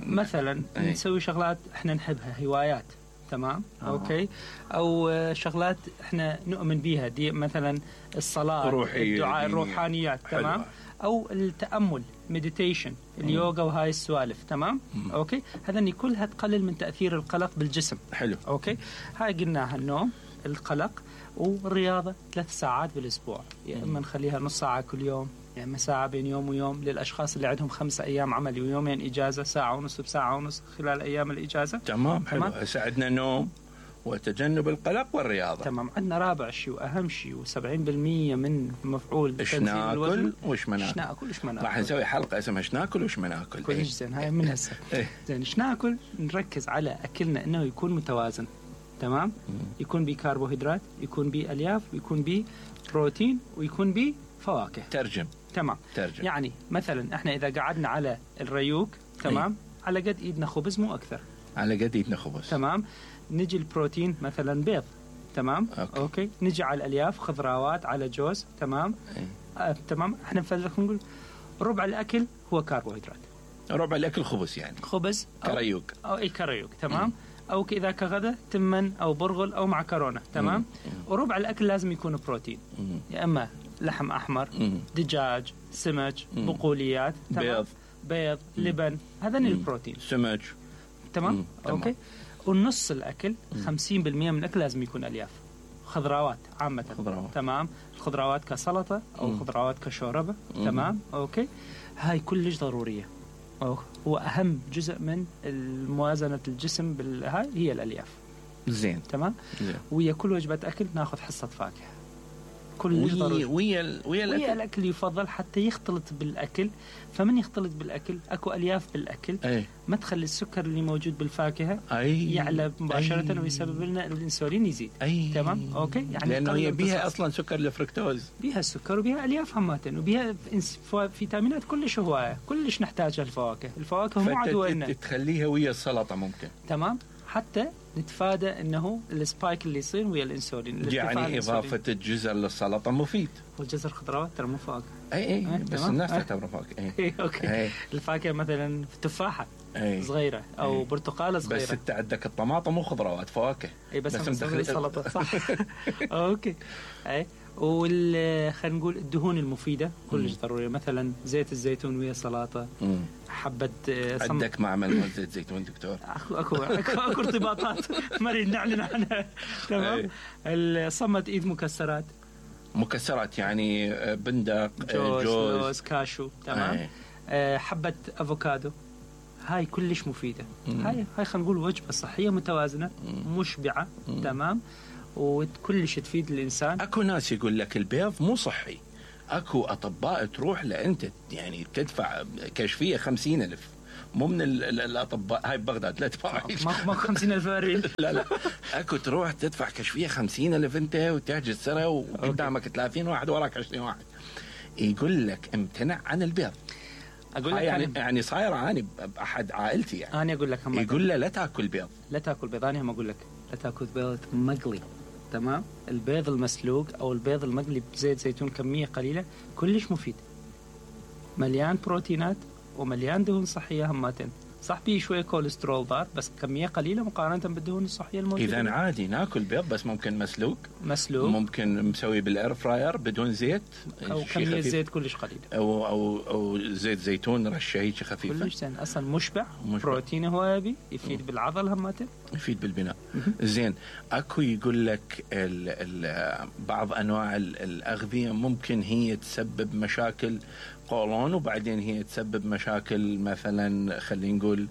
مثلا نسوي شغلات احنا نحبها، هوايات. تمام. اوكي. او شغلات احنا نؤمن بيها، دي مثلا الصلاة، الدعاء، الروحانيات. تمام. او التأمل، مديتيشن، اليوغا وهاي السوالف. تمام. اوكي. هذني كلها تقلل من تأثير القلق بالجسم. حلو. اوكي. هاي قلناها النوم، القلق، والرياضة 3 ساعات بالاسبوع. يا اما نخليها نص ساعة كل يوم، يا اما ساعة بين يوم ويوم. للاشخاص اللي عندهم 5 أيام عمل ويومين اجازة، 1.5 ساعة بساعة ونص خلال ايام الاجازة. تمام. حلو. ساعدنا نوم وتجنب القلق والرياضة. تمام. عندنا رابع شيء واهم شيء، و70% من مفعول ايش ناكل وش ما ناكل. راح نسوي حلقة اسمها ايش ناكل وش ما ناكل. كويس. زين. هاي من هسه. زين. ايش ناكل؟ نركز على اكلنا انه يكون متوازن. تمام. يكون بيه كربوهيدرات، يكون بيه الياف، ويكون بيه بروتين، ويكون بيه فواكه. ترجم. تمام. يعني مثلا احنا اذا قعدنا على الريوق، تمام، على قد ايدنا خبز، مو اكثر. على قد ايدنا خبز. تمام. نجي البروتين مثلا بيض. تمام. اوكي. نجي على الالياف، خضروات، على جوز. تمام. تمام. احنا نقول ربع الاكل هو كربوهيدرات. ربع الاكل خبز، يعني خبز كريوق او اي كريوق. تمام. او اذا كغدا تمن او برغل او معكرونه. تمام. وربع الاكل لازم يكون بروتين، يا اما لحم احمر، دجاج، سمك، بقوليات. بيض، لبن. هذا البروتين. سمك. تمام. اوكي. والنص الاكل 50% من الاكل لازم يكون الياف، خضروات عامه. تمام. الخضروات كسلطه او خضروات كشوربه. تمام. اوكي. هاي كلش ضروريه. هو اهم جزء من موازنه الجسم هاي هي الالياف. زين. تمام. ويا كل وجبه اكل ناخذ حصه فاكهه. كل ويا الاكل يفضل حتى يختلط بالاكل. فمن يختلط بالاكل اكو الياف بالاكل. ما تخلي السكر اللي موجود بالفاكهه يعلى مباشره ويسبب لنا الانسولين يزيد. تمام. اوكي. يعني لانه هي بيها اصلا سكر الفركتوز، بيها السكر وبيها الياف همات، وبيها فيتامينات كلش هوايه، كلش نحتاجها الفواكه مو عدونا. تخليها ويا السلطه ممكن. تمام. حتى نتفادى انه السبايك اللي يصير ويا الانسولين. يعني اضافه الجزر للسلطه مفيد. والجزر خضروات ترى مو فواكه. اي بس الناس تعتبره فواكه. اوكي. الفاكهه مثلا تفاحه صغيره او برتقاله صغيره. بس انت عندك الطماطم مو خضروات، فواكه. اي بس نسوي سلطه. صح. اوكي. خلينا نقول الدهون المفيدة كلش ضرورية، مثلا زيت الزيتون ويا سلطة، حبة عندك معمل مال زيت زيتون دكتور؟ اكو ارتباطات ما نريد نعلن عنها. تمام. صمت ايد مكسرات يعني بندق، جوز، لوز، كاشو. تمام. حبة افوكادو، هاي كلش مفيدة. هاي خلينا نقول وجبة صحية متوازنة مشبعة. تمام. وكلش تفيد الإنسان. أكو ناس يقول لك البيض مو صحي، أكو أطباء تروح لأنت يعني تدفع كشفية 50,000، مو من الأطباء هاي ببغداد لا تدفع ما 50,000 بريل. لا أكو تروح تدفع كشفية 50,000 أنت وتحجز سنة وقدامك 30 واحد وراك 20 واحد، يقول لك امتنع عن البيض. أقول لك يعني صاير عاني بأحد عائلتي يعني. أنا أقول لك يقول له لا تأكل بيض. أنا هم أقول لك لا تأكل بيض مقلي. تمام. البيض المسلوق أو البيض المقلي بزيت زيتون كمية قليلة كلش مفيد، مليان بروتينات ومليان دهون صحية هماتين. صح بيه شوية كوليسترول ضار بس كمية قليلة مقارنة بالدهون الصحية الموجودة. إذا عادي ناكل بيض بس ممكن مسلوق، ممكن مسوي بالإير فراير بدون زيت أو كمية زيت كلش قليلة، أو زيت زيتون رشة هيك خفيفة. كلش زين، أصلا مشبع. بروتين هو يبي يفيد بالعضل هماتين، يفيد بالبناء. زين. أكو يقول لك بعض أنواع الأغذية ممكن هي تسبب مشاكل قولون وبعدين هي تسبب مشاكل مثلا خلينا نقول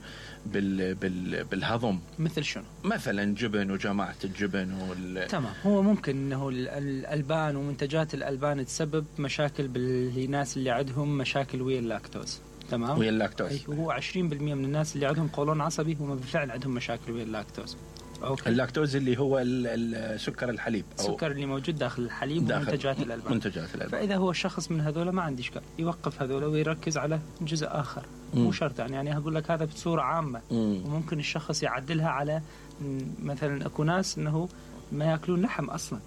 بالهضم. مثل شنو؟ مثلا جبن وجماعة الجبن تمام. هو ممكن انه الألبان ومنتجات الألبان تسبب مشاكل بالناس اللي عندهم مشاكل ويا اللاكتوز. تمام. ويا اللاكتوز. هو 20% من الناس اللي عندهم قولون عصبي هم بالفعل عندهم مشاكل ويا اللاكتوز. أوكي. اللاكتوز اللي هو السكر الحليب أو السكر اللي موجود داخل الحليب ومنتجات الألبان. فإذا هو الشخص من هذول ما عندي إشكال يوقف هذول ويركز على جزء آخر. مو شرط يعني أقول لك هذا بصورة عامة. وممكن الشخص يعدلها على مثلا أكو ناس إنه ما يأكلون لحم أصلا،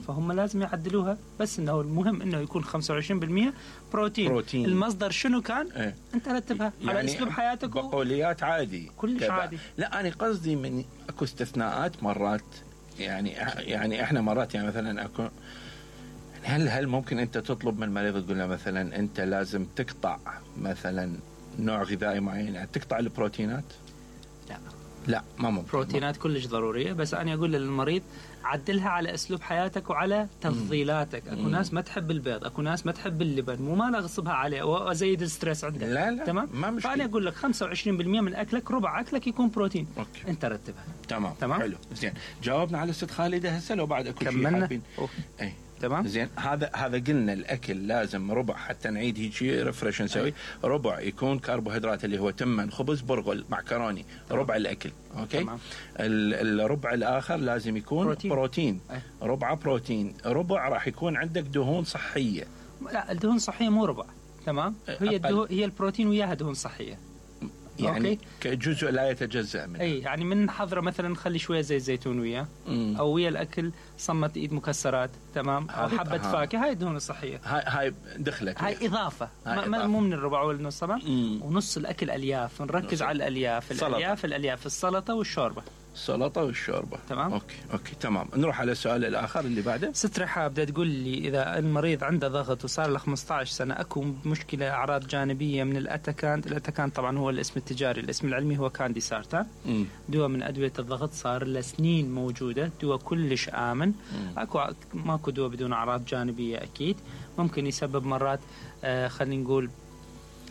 فهم لازم يعدلوها، بس إنه المهم إنه يكون 25% بروتين. المصدر شنو كان؟ أنت رتبها يعني على أسلوب حياتك. بقوليات عادي كلش عادي. لا أنا قصدي من أكو استثناءات مرات، يعني إحنا مرات يعني مثلا أكو هل ممكن أنت تطلب من المريض تقول له مثلا أنت لازم تقطع مثلا نوع غذائي معين، يعني تقطع البروتينات؟ لا ما ممكن. بروتينات كلش ضرورية، بس أنا أقول للمريض عدلها على أسلوب حياتك وعلى تفضيلاتك. أكو ناس ما تحب البيض، أكو ناس ما تحب اللبن، مو ما نغصبها عليه وأزيد الستريس عندك. لا تمام. ما مشكلة. فأنا أقول لك 25% من أكلك، ربع أكلك يكون بروتين. أوكي. أنت رتبها. تمام. حلو. زين. جاوبنا على ست خالدة هسه لو بعد أكو شيء حابين. أي. تمام. زين. هذا قلنا الأكل لازم ربع حتى نعيد هيك ريفرش نسوي. ربع يكون كربوهيدرات اللي هو تمن، خبز، برغل، معكروني. ربع الأكل. أوكي. تمام. الربع الآخر لازم يكون بروتين. ربع بروتين، ربع راح يكون عندك دهون صحية. لا الدهون صحية مو ربع. تمام. هي البروتين وياها دهون صحية. يعني أوكي. كجزء لا يتجزأ منه. أي يعني من حضرة مثلا نخلي شوية زيت زيتون وياه، أو ويا الأكل صمت إيد مكسرات. تمام. أو حبة فاكهة. هاي الدهون الصحية. هاي دخلت. هاي إضافة. مو من الربع والنص. تمام. ونص الأكل ألياف، نركز على الألياف. الألياف السلطة والشوربة. تمام. اوكي تمام. نروح على السؤال الاخر اللي بعده. ست رحاب بدها تقول لي اذا المريض عنده ضغط وصار له 15 سنه اكو مشكله اعراض جانبيه من الاتاكانت طبعا هو الاسم التجاري، الاسم العلمي هو كاندي سارتان. دواء من ادويه الضغط صار له سنين موجوده، دواء كلش امن. ماكو دواء بدون اعراض جانبيه اكيد. ممكن يسبب مرات خلينا نقول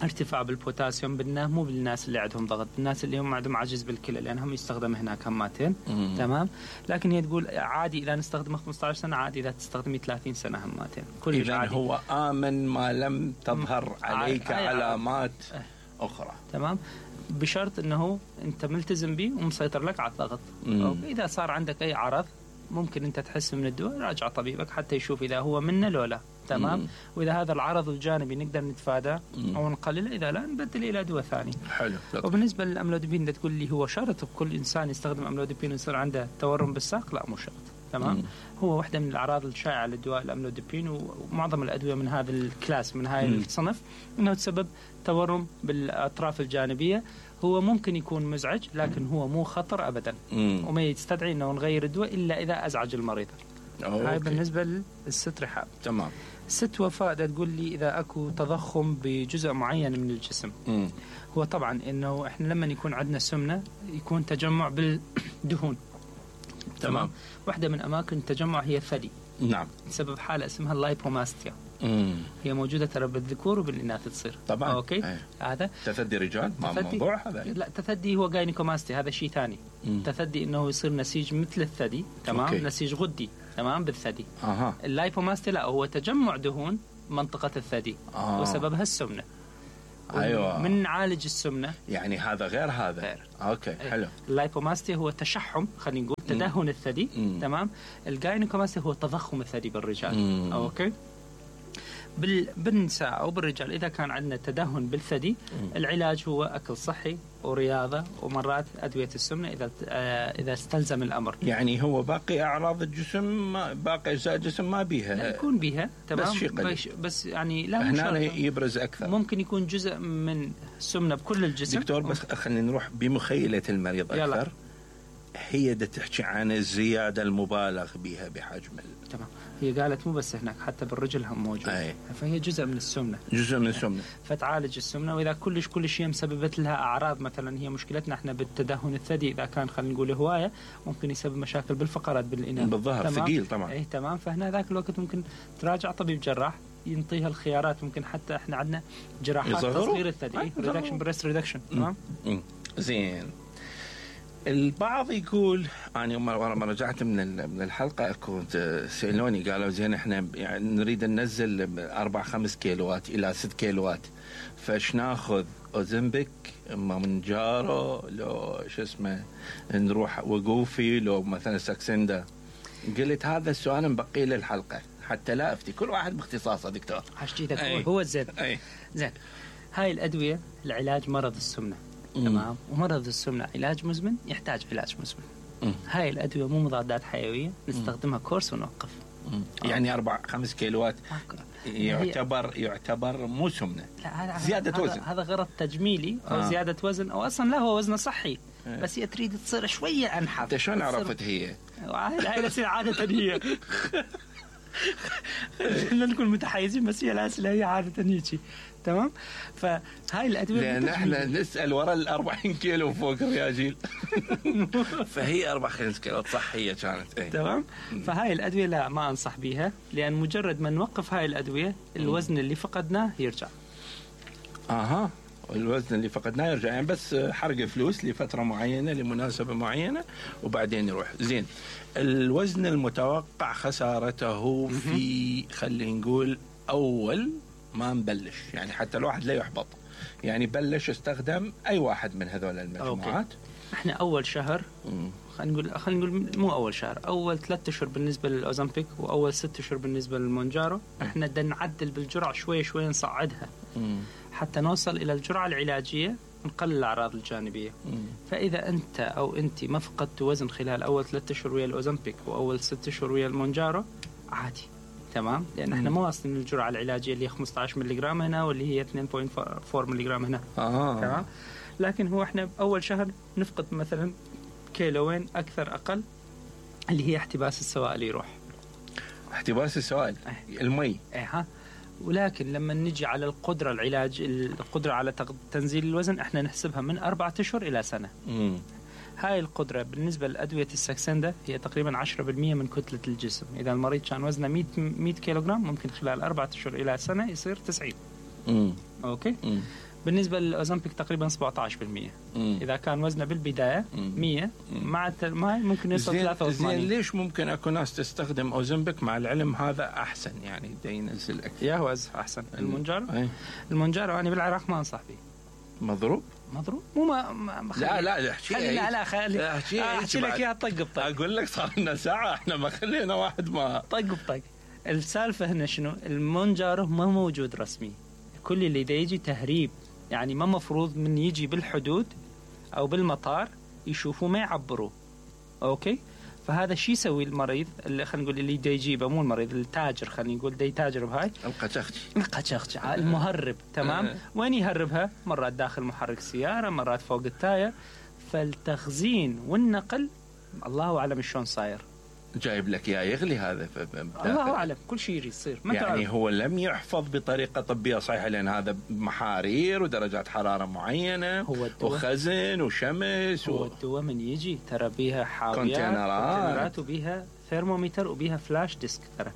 ارتفاع بالبوتاسيوم مو بالناس اللي عندهم ضغط، الناس اللي هم عندهم عجز بالكلى لأنهم يستخدم هناك هماتين. تمام. لكن هي تقول عادي إذا نستخدمه 15 سنة، عادي إذا تستخدمي 30 سنة هماتين. كل عادي. هو آمن ما لم تظهر عليك علامات أخرى. تمام. بشرط أنه أنت ملتزم به ومسيطر لك على الضغط. إذا صار عندك أي عرض ممكن أنت تحس من الدواء، راجع طبيبك حتى يشوف إذا هو منه لو لا. تمام. وإذا هذا العرض الجانبي نقدر نتفاداه أو نقلله، إذا لا نبدل إلى دواء ثاني. حلو. وبالنسبة للأملوديبين تقول لي هو شرط بكل إنسان يستخدم أملوديبين يصير عنده تورم بالساق؟ لا مو شرط. تمام. هو واحدة من الأعراض الشائعة للدواء الأملوديبين ومعظم الأدوية من هذا الكلاس من هاي الصنف إنه تسبب تورم بالأطراف الجانبية. هو ممكن يكون مزعج لكن هو مو خطر أبدا، وما يستدعي إنه نغير الدواء إلا إذا أزعج المريض. هاي بالنسبه للست رحاب. تمام. ست وفاء تقول لي اذا اكو تضخم بجزء معين من الجسم. هو طبعا انه احنا لما يكون عندنا سمنه يكون تجمع بالدهون. تمام. واحده من اماكن التجمع هي الثدي. نعم. بسبب حاله اسمها اللايبوماستيا. هي موجوده ترى بالذكور وبالاناث تصير. طبعا. اوكي. هذا تثدي رجال ما موضوع هذا. لا، تثدي هو جاينيكوماستيا، هذا شيء ثاني. تثدي انه يصير نسيج مثل الثدي. تمام. أوكي. نسيج غدي. تمام بالثدي. اللايبوماستيا لا، هو تجمع دهون منطقه الثدي. وسببها السمنه. ايوه. من نعالج السمنه يعني هذا غير هذا. غير. اوكي. حلو. اللايبوماستيا هو تشحم، خلينا نقول تدهن الثدي. تمام. الجاينيكوماستيا هو تضخم الثدي بالرجال. اوكي. بالنساء او بالرجال اذا كان عندنا تدهن بالثدي العلاج هو اكل صحي ورياضه ومرات ادويه السمنه اذا استلزم الامر. يعني هو باقي اعراض الجسم باقي اجزاء الجسم ما بيها. لا يكون بيها. تمام. بس يعني لا هنا يبرز اكثر. ممكن يكون جزء من السمنه بكل الجسم. دكتور بس خلينا نروح بمخيله المريض اكثر. يلا. هي دا تحكي عن الزياده المبالغ بها بحجم تمام. هي قالت مو بس هناك، حتى بالرجل هم موجود. فهي جزء من السمنه. فتعالج السمنه، واذا كل شيء مسببت لها اعراض، مثلا هي مشكلتنا احنا بالتدهن الثدي اذا كان خلينا نقول هوايه ممكن يسبب مشاكل بالفقرات بالاناث بالظهر ثقيل طبعا. تمام. فهنا ذاك الوقت ممكن تراجع طبيب جراح ينطيها الخيارات. ممكن حتى احنا عندنا جراحات تصغير الثدي، ريدكشن بريست ريدكشن. تمام. زين. البعض يقول أنا مرة رجعت من الحلقة كنت سألوني قالوا زين إحنا يعني نريد ننزل 4-5 كيلوات إلى 6 كيلوات، فاش ناخذ أوزمبيك مونجارو لو شو اسمه نروح وقوفي لو مثلا ساكسندا؟ قلت هذا السؤال مبقي للحلقة حتى لا أفتي، كل واحد باختصاصه دكتور. حشتيتك هو زين. زين. هاي الأدوية لعلاج مرض السمنة. تمام. ومرض السمنة علاج مزمن، يحتاج علاج مزمن. هاي الأدوية مو مضادات حيوية، نستخدمها كورس ونوقف. يعني 4-5 كيلوات يعتبر مو سمنة. لا، زيادة وزن. هذا غرض تجميلي أو زيادة وزن، أو أصلا لا هو وزن صحي. بس هي تريد تصير شوية أنحف. أنت شلون عرفت هي؟ هاي تصير عادة هي. خلينا نكون متحيزين، بس هي الأسئلة هي عادة هيك. تمام. فهاي الأدوية لأن احنا نسأل وراء 40 كيلو فوق الرياجيل. فهي 4-5 كيلو صحية كانت. تمام. فهاي الأدوية لا ما أنصح بيها، لأن مجرد ما نوقف هاي الأدوية الوزن اللي فقدناه يرجع. الوزن اللي فقدناه يرجع، يعني بس حرق فلوس لفترة معينة لمناسبة معينة وبعدين يروح. زين. الوزن المتوقع خسارته في خلينا نقول أول ما نبلش، يعني حتى الواحد لا يحبط، يعني بلش استخدم أي واحد من هذول المجموعات. احنا أول شهر خلينا نقول مو أول شهر، أول 3 أشهر بالنسبة للأوزمبيك وأول 6 أشهر بالنسبة للمونجارو احنا بدنا نعدل بالجرعة شوي نصعدها حتى نوصل إلى الجرعة العلاجية نقلل الأعراض الجانبية. فإذا أنت أو أنت ما فقدت وزن خلال أول 3 أشهر ويا الأوزمبيك وأول 6 أشهر ويا المونجارو عادي. تمام. لأن احنا ما واصلين الجرعة العلاجية اللي هي 15 ملغرام هنا واللي هي 2.4 ملغرام هنا. تمام. لكن هو احنا أول شهر نفقد مثلا كيلوين أكثر أقل، اللي هي احتباس السوائل يروح. احتباس السوائل المي. ولكن لما نجي على القدرة القدرة على تنزيل الوزن احنا نحسبها من 4 أشهر إلى سنة. هاي القدرة بالنسبة لأدوية الساكسندا هي تقريبا 10% من كتلة الجسم. إذا المريض كان وزنه 100 كيلوغرام ممكن خلال 4 أشهر إلى سنة يصير 90. أوكي. بالنسبة للأوزمبيك تقريبا 17%. إذا كان وزنه بالبداية 100 مع ممكن يوصل 83. زين. ليش ممكن أكو ناس تستخدم أوزمبيك مع العلم هذا أحسن، يعني دا ينزل أكثر؟ يا هو أحسن. المونجارو أنا بالعراق ما أنصح به. مضروب مو لا احكي لك اياها طق بطق. اقول لك صار لنا ساعه احنا ما خلينا واحد ما طق بطق. السالفه هنا شنو؟ المونجارو ما موجود رسمي، كل اللي دا يجي تهريب، يعني ما مفروض من يجي بالحدود او بالمطار يشوفوا ما يعبروا. اوكي. فهذا الشيء يسوي المريض اللي خلينا نقول اللي دا يجيبه، مو المريض التاجر، خلينا نقول دا يتاجر بهاي القشخشي المهرب. تمام. وين يهربها؟ مرات داخل محرك سيارة، مرات فوق التاير. فالتخزين والنقل الله أعلم شلون صاير. جايب لك يا يغلي هذا الله اعلم كل شيء يصير يعني تعرف. هو لم يحفظ بطريقه طبيه صحيحه لان هذا محارير ودرجات حراره معينه وخزن وشمس هو الدواء من يجي ترى بيها حاويات كونتينرات وبيها ثيرمومتر وبيها فلاش ديسك ترى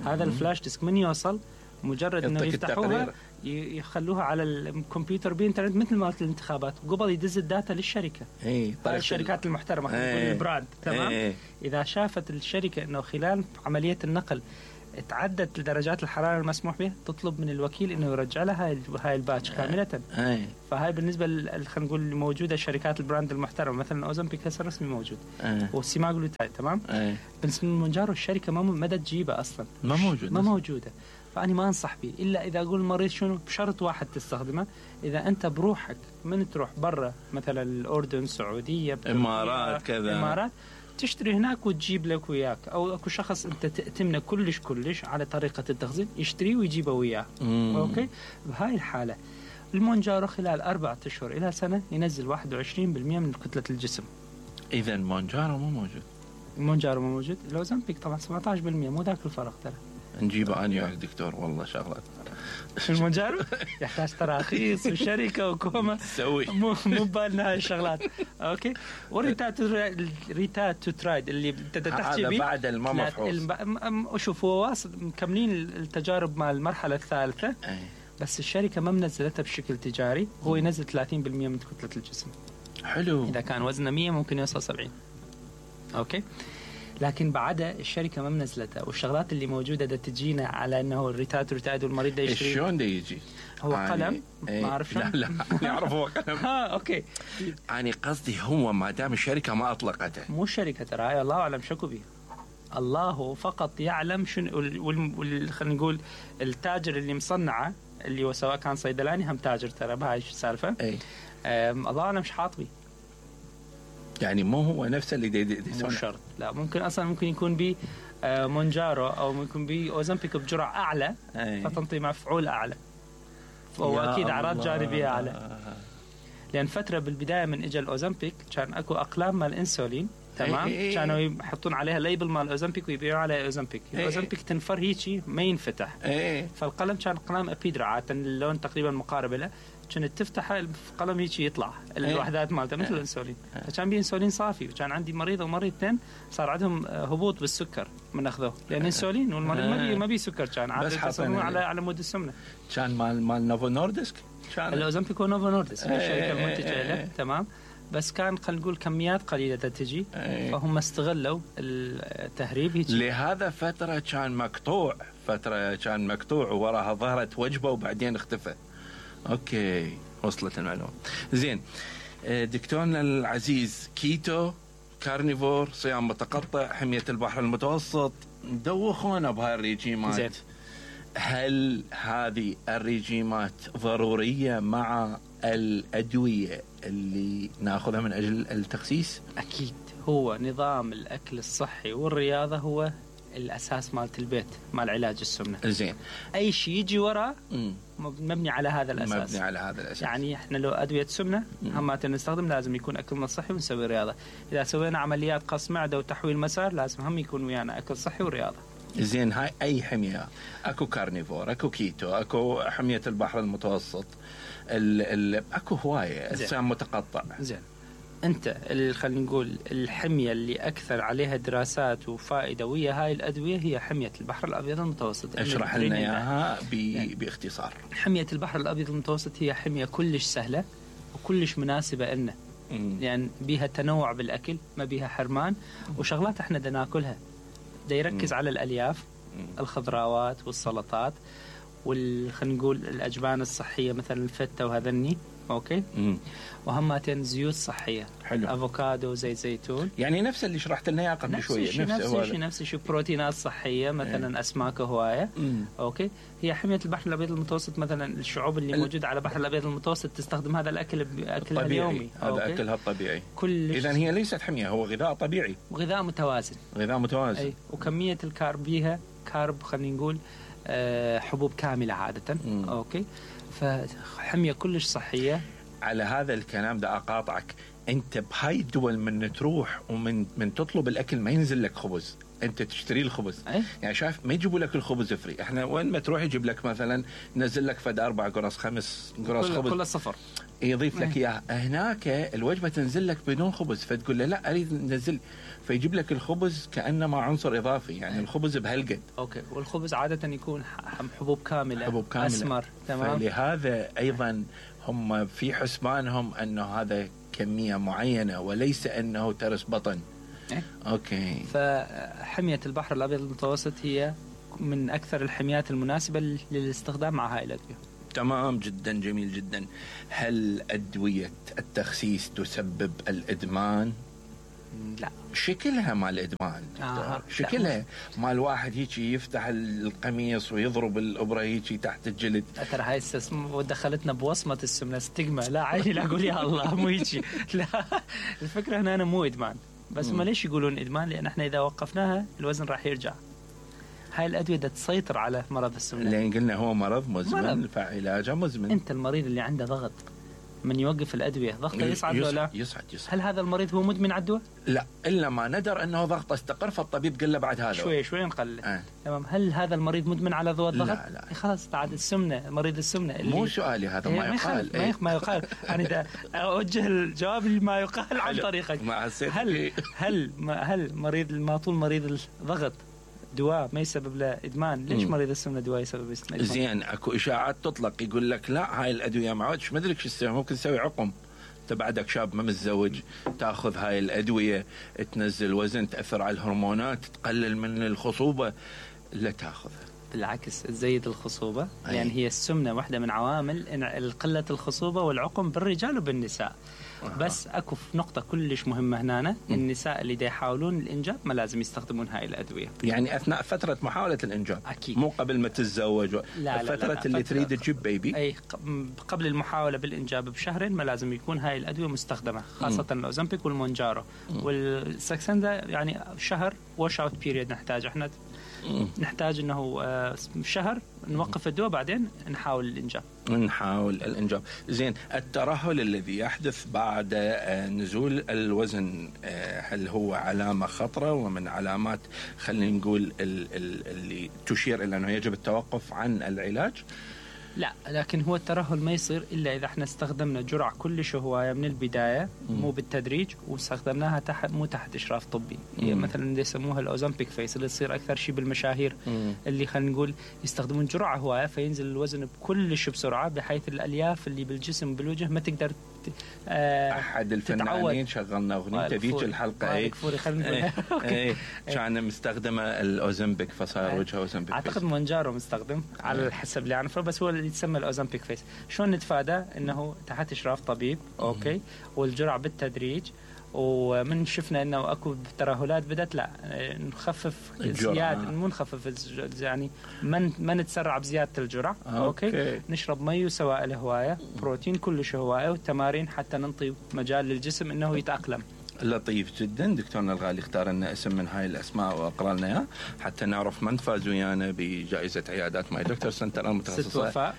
هذا الفلاش ديسك من يوصل مجرد انه يفتحوها يخلوها على الكمبيوتر بإنترنت مثل ما قلت الانتخابات قبل يدز الداتا للشركه الشركات المحترمه البراند تمام اذا شافت الشركه انه خلال عمليه النقل تعدت درجات الحراره المسموح بها تطلب من الوكيل انه يرجع لها هاي الباتش كامله فهاي بالنسبه خلينا نقول موجوده شركات البراند المحترمه مثلا اوزمبيك هسه رسمي موجود والسيماغلوتايد تمام بالنسبه للمونجارو الشركه ما تجيبها اصلا ما موجوده فأنا ما أنصح به إلا إذا أقول المريض شنو بشرط واحد تستخدمه إذا أنت بروحك من تروح برا مثلا الأردن السعودية إمارات كذا إمارات تشتري هناك وتجيب لك وياك أو أكو شخص أنت تأتمنه كلش على طريقة التخزين يشتريه ويجيبه وياه أوكي بهاي الحالة المونجارو خلال 4 أشهر إلى سنة ينزل 21% من كتلة الجسم. إذا مونجارو مو موجود الأوزمبيك طبعا 17% مو ذاك الفرق ترى نجيبه أنا وياك دكتور والله شغلات المونجارو يحتاج تراخيص وشركة وكومة تسوي مو بالنا هاي الشغلات أوكي وريتات تو ترايد اللي تحكي به بعد المفحوص شوف هو واصل مكملين التجارب مع المرحلة الثالثة بس الشركة ما منزلتها بشكل تجاري هو ينزل 30% من كتلة الجسم حلو إذا كان وزنه 100 ممكن يوصل 70 أوكي لكن بعدها الشركة ما منزلتها والشغلات اللي موجودة دا تجينا على أنه الريتاد والمريض دا يشتري شلون دا يجي هو قلم ما أعرف شلون لا نعرف هو قلم أوكي يعني قصدي هو ما دام الشركة ما أطلقته مو الشركة ترى الله أعلم شكو بيه الله فقط يعلم شنو خلينا نقول التاجر اللي مصنعه اللي هو سواء كان صيدلاني هم تاجر ترى بهاي السالفة الله أعلم مش حاط بيه يعني مو هو نفسه اللي مو شرط لا ممكن يكون بي مونجارو او ممكن بي اوزمبيك بجرعه اعلى فتنطي مفعول اعلى فهو اكيد اعراض جانبيه اعلى لان فتره بالبدايه من اجى الاوزمبيك كان اكو اقلام مال الانسولين تمام كانوا يحطون عليها ليبل مال الاوزمبيك ويبيعوا عليها اوزمبيك الاوزمبيك تنفر هيجي ما ينفتح فالقلم كان قلم ابيدرا عاده اللون تقريبا مقارب له كانت تفتح القلم هيك يطلع الوحدات مالته مثل الانسولين فكان بي انسولين صافي وكان عندي مريض ومريضتين صار عندهم هبوط بالسكر من اخذوه لان انسولين والمريض ما بي سكر كان عاده على مود السمنه كان مال نوفو نوردسك كان الاوزمبيك ونوفو نوردسك الشركه المنتجه له تمام بس كان خلينا نقول كميات قليله تجي فهم استغلوا التهريب هيك لهذا فتره كان مقطوع وراها ظهرت وجبه وبعدين اختفى اوكي وصلت المعلومه زين دكتورنا العزيز كيتو كارنيفور صيام متقطع حميه البحر المتوسط دوخونا بهاي الريجيمات زين. هل هذه الريجيمات ضروريه مع الادويه اللي ناخذها من اجل التخسيس؟ اكيد هو نظام الاكل الصحي والرياضه هو الاساس مالت البيت مال علاج السمنه زين اي شيء يجي وراه مبني على هذا الاساس يعني احنا لو ادويه سمنه همات نستخدم لازم يكون اكلنا صحي ونسوي رياضه اذا سوينا عمليات قص معده وتحويل مسار لازم هم يكون ويانا اكل صحي ورياضه زين هاي اي حميه اكو كارنيفور اكو كيتو اكو حميه البحر المتوسط اكو هوايه صيام متقطع زين انت خلينا نقول الحميه اللي اكثر عليها دراسات وفائده ويا هاي الادويه هي حميه البحر الابيض المتوسط اشرح لنا اياها باختصار حميه البحر الابيض المتوسط هي حميه كلش سهله وكلش مناسبه لنا يعني بيها تنوع بالاكل ما بيها حرمان وشغلات احنا بدنا ناكلها دا يركز على الالياف الخضروات والسلطات خلينا نقول الاجبان الصحيه مثلا الفته وهذني اوكي وهمتين زيوت صحيه حلو. افوكادو زيت زيتون يعني نفس اللي شرحت لنا اياه قبل شويه نفس الشيء بروتينات صحيه مثلا اسماك هوايه اوكي هي حميه البحر الابيض المتوسط مثلا الشعوب اللي موجوده على البحر الابيض المتوسط تستخدم هذا الاكل باكلها اليومي هذا اكلها الطبيعي اذا هي ليست حميه هو غذاء طبيعي وغذاء متوازن اي وكميه الكارب بيها كارب خلينا نقول حبوب كامله عاده اوكي فحميه كلش صحيه. على هذا الكلام ده أقاطعك، أنت بهاي الدول من تروح ومن تطلب الأكل ما ينزل لك خبز، انت تشتري الخبز. يعني شايف ما يجيبوا لك الخبز فري، احنا وين ما تروح يجيب لك مثلا نزل لك فد 4 قرص 5 قرص خبز كل صفر يضيف لك اياه. هناك الوجبه تنزل لك بدون خبز، فتقول له لا اريد ننزل، فيجيب لك الخبز كانما عنصر اضافي، يعني الخبز بهالقد. اوكي. والخبز عاده يكون حبوب كامله اسمر. تمام. فلهذا ايضا هم في حسبانهم انه هذا كميه معينه وليس انه ترس بطن. اوكي. فحميه البحر الابيض المتوسط هي من اكثر الحميات المناسبه للاستخدام مع هاي الادويه. تمام جدا، جميل جدا. هل ادويه التخسيس تسبب الادمان؟ لا. شكلها مال ادمان شكلها مال واحد هيجي يفتح القميص ويضرب الابره هيجي تحت الجلد. ترى هاي ودخلتنا بوصمه السمنه ستيغما. لا عادي، لا اقول يا الله مو هيجي. لا، الفكره هنا أنا مو ادمان، بس ما ليش يقولون ادمان؟ لان احنا اذا وقفناها الوزن راح يرجع. هاي الادويه بدها تسيطر على مرض السمنه، لان قلنا هو مرض مزمن فعلاجه مزمن. انت المريض اللي عنده ضغط من يوقف الادويه ضغطه يصعد ولا لا؟ يصعد. هل هذا المريض هو مدمن على الدواء؟ لا، الا ما ندر انه ضغطه استقر، فالطبيب قال له بعد هذا شوي نقلل. تمام. هل هذا المريض مدمن على دواء الضغط؟ لا. خلاص بعد السمنه، مريض السمنه اللي مو سؤالي هذا، ما يقال. ما يقال. انا اوجه الجواب لما يقال عن طريقك. هل مريض ما طول مريض الضغط دواء ما يسبب له ادمان؟ ليش مريض السمنه دواء يسبب ادمان؟ زين، اكو اشاعات تطلق يقول لك لا هاي الادويه ما عادش ما ادري شو تسوي، ممكن تسوي عقم. انت بعدك شاب ما متزوج تاخذ هاي الادويه تنزل وزن، تاثر على الهرمونات، تقلل من الخصوبه. لا تاخذها، بالعكس تزيد الخصوبه. يعني هي السمنه واحده من عوامل قله الخصوبه والعقم بالرجال وبالنساء. بس اكو نقطه كلش مهمه هنا، النساء اللي دا يحاولون الانجاب ما لازم يستخدمون هاي الادويه. يعني اثناء فتره محاوله الانجاب اكيد، مو قبل ما تتزوج. فتره اللي تريد تجيب بيبي، اي قبل المحاوله بالانجاب بشهرين ما لازم يكون هاي الادويه مستخدمه، خاصه الاوزمبيك والمونجارو والساكسندا. يعني شهر واش اوت بيريد نحتاج احنا، نحتاج انه شهر نوقف الدواء بعدين نحاول الانجاب. زين، الترهل الذي يحدث بعد نزول الوزن هل هو علامة خطرة ومن علامات خلينا نقول اللي تشير الى انه يجب التوقف عن العلاج؟ لا، لكن هو الترهل ما يصير الا اذا احنا استخدمنا جرعه كلش هوايه من البدايه، مو بالتدريج، واستخدمناها مو تحت اشراف طبي. مثلا اللي يسموها الاوزمبيك فيس، اللي تصير اكثر شيء بالمشاهير اللي خلينا نقول يستخدمون جرعه هوايه فينزل الوزن بكلش بسرعه، بحيث الالياف اللي بالجسم بالوجه ما تقدر احد الفنانين شغلنا اغنيته ذيك الحلقه كان مستخدمه الاوزمبيك فصار وجهه اوزمبيك. اعتقد مونجارو مستخدم على حسب اللي اعرفه، بس هو اللي يتسمى الاوزمبيك فيس. شلون نتفادى؟ انه تحت اشراف طبيب، اوكي، والجرعه بالتدريج. ومن شفنا انه اكو ترهلات بدت، لا نخفف زياده، مو نخفف يعني ما نتسرع بزياده الجرعه. اوكي. نشرب مي وسوائل هوايه، بروتين كلش هوايه، والتمارين حتى ننطي مجال للجسم انه يتاقلم. لطيف جدا. دكتورنا الغالي اختار لنا اسم من هاي الاسماء واقرا لنا اياه حتى نعرف من فاز ويانا بجائزه عيادات ماي دكتور سنتر المتخصصه ست وفاء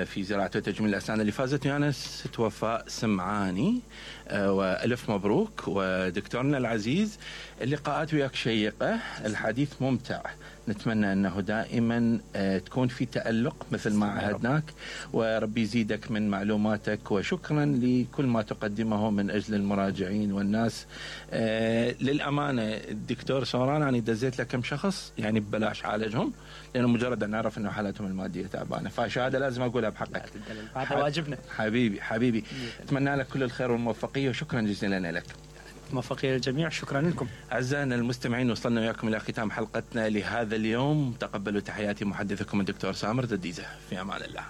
في زراعه وتجميل الاسنان، اللي فازت ويانا ست وفاء سمعاني. والف مبروك. ودكتورنا العزيز، اللقاءات وياك شيقه، الحديث ممتع، نتمنى أنه دائما تكون في تألق مثل ما عهدناك، وربي يزيدك من معلوماتك، وشكرا لكل ما تقدمه من أجل المراجعين والناس. للأمانة الدكتور سوران أنا دزيت لك كم شخص يعني ببلاش عالجهم، لأنه مجرد أن نعرف أنه حالتهم المادية تعبانة، فشهادة لازم أقولها بحقك. هذا واجبنا حبيبي. أتمنى لك كل الخير والموفقية، وشكرا جزيلا لك. موفقية للجميع. شكرا لكم أعزائنا المستمعين، وصلنا وياكم إلى ختام حلقتنا لهذا اليوم. تقبلوا تحياتي محدثكم الدكتور سامر دديزة، في أمان الله.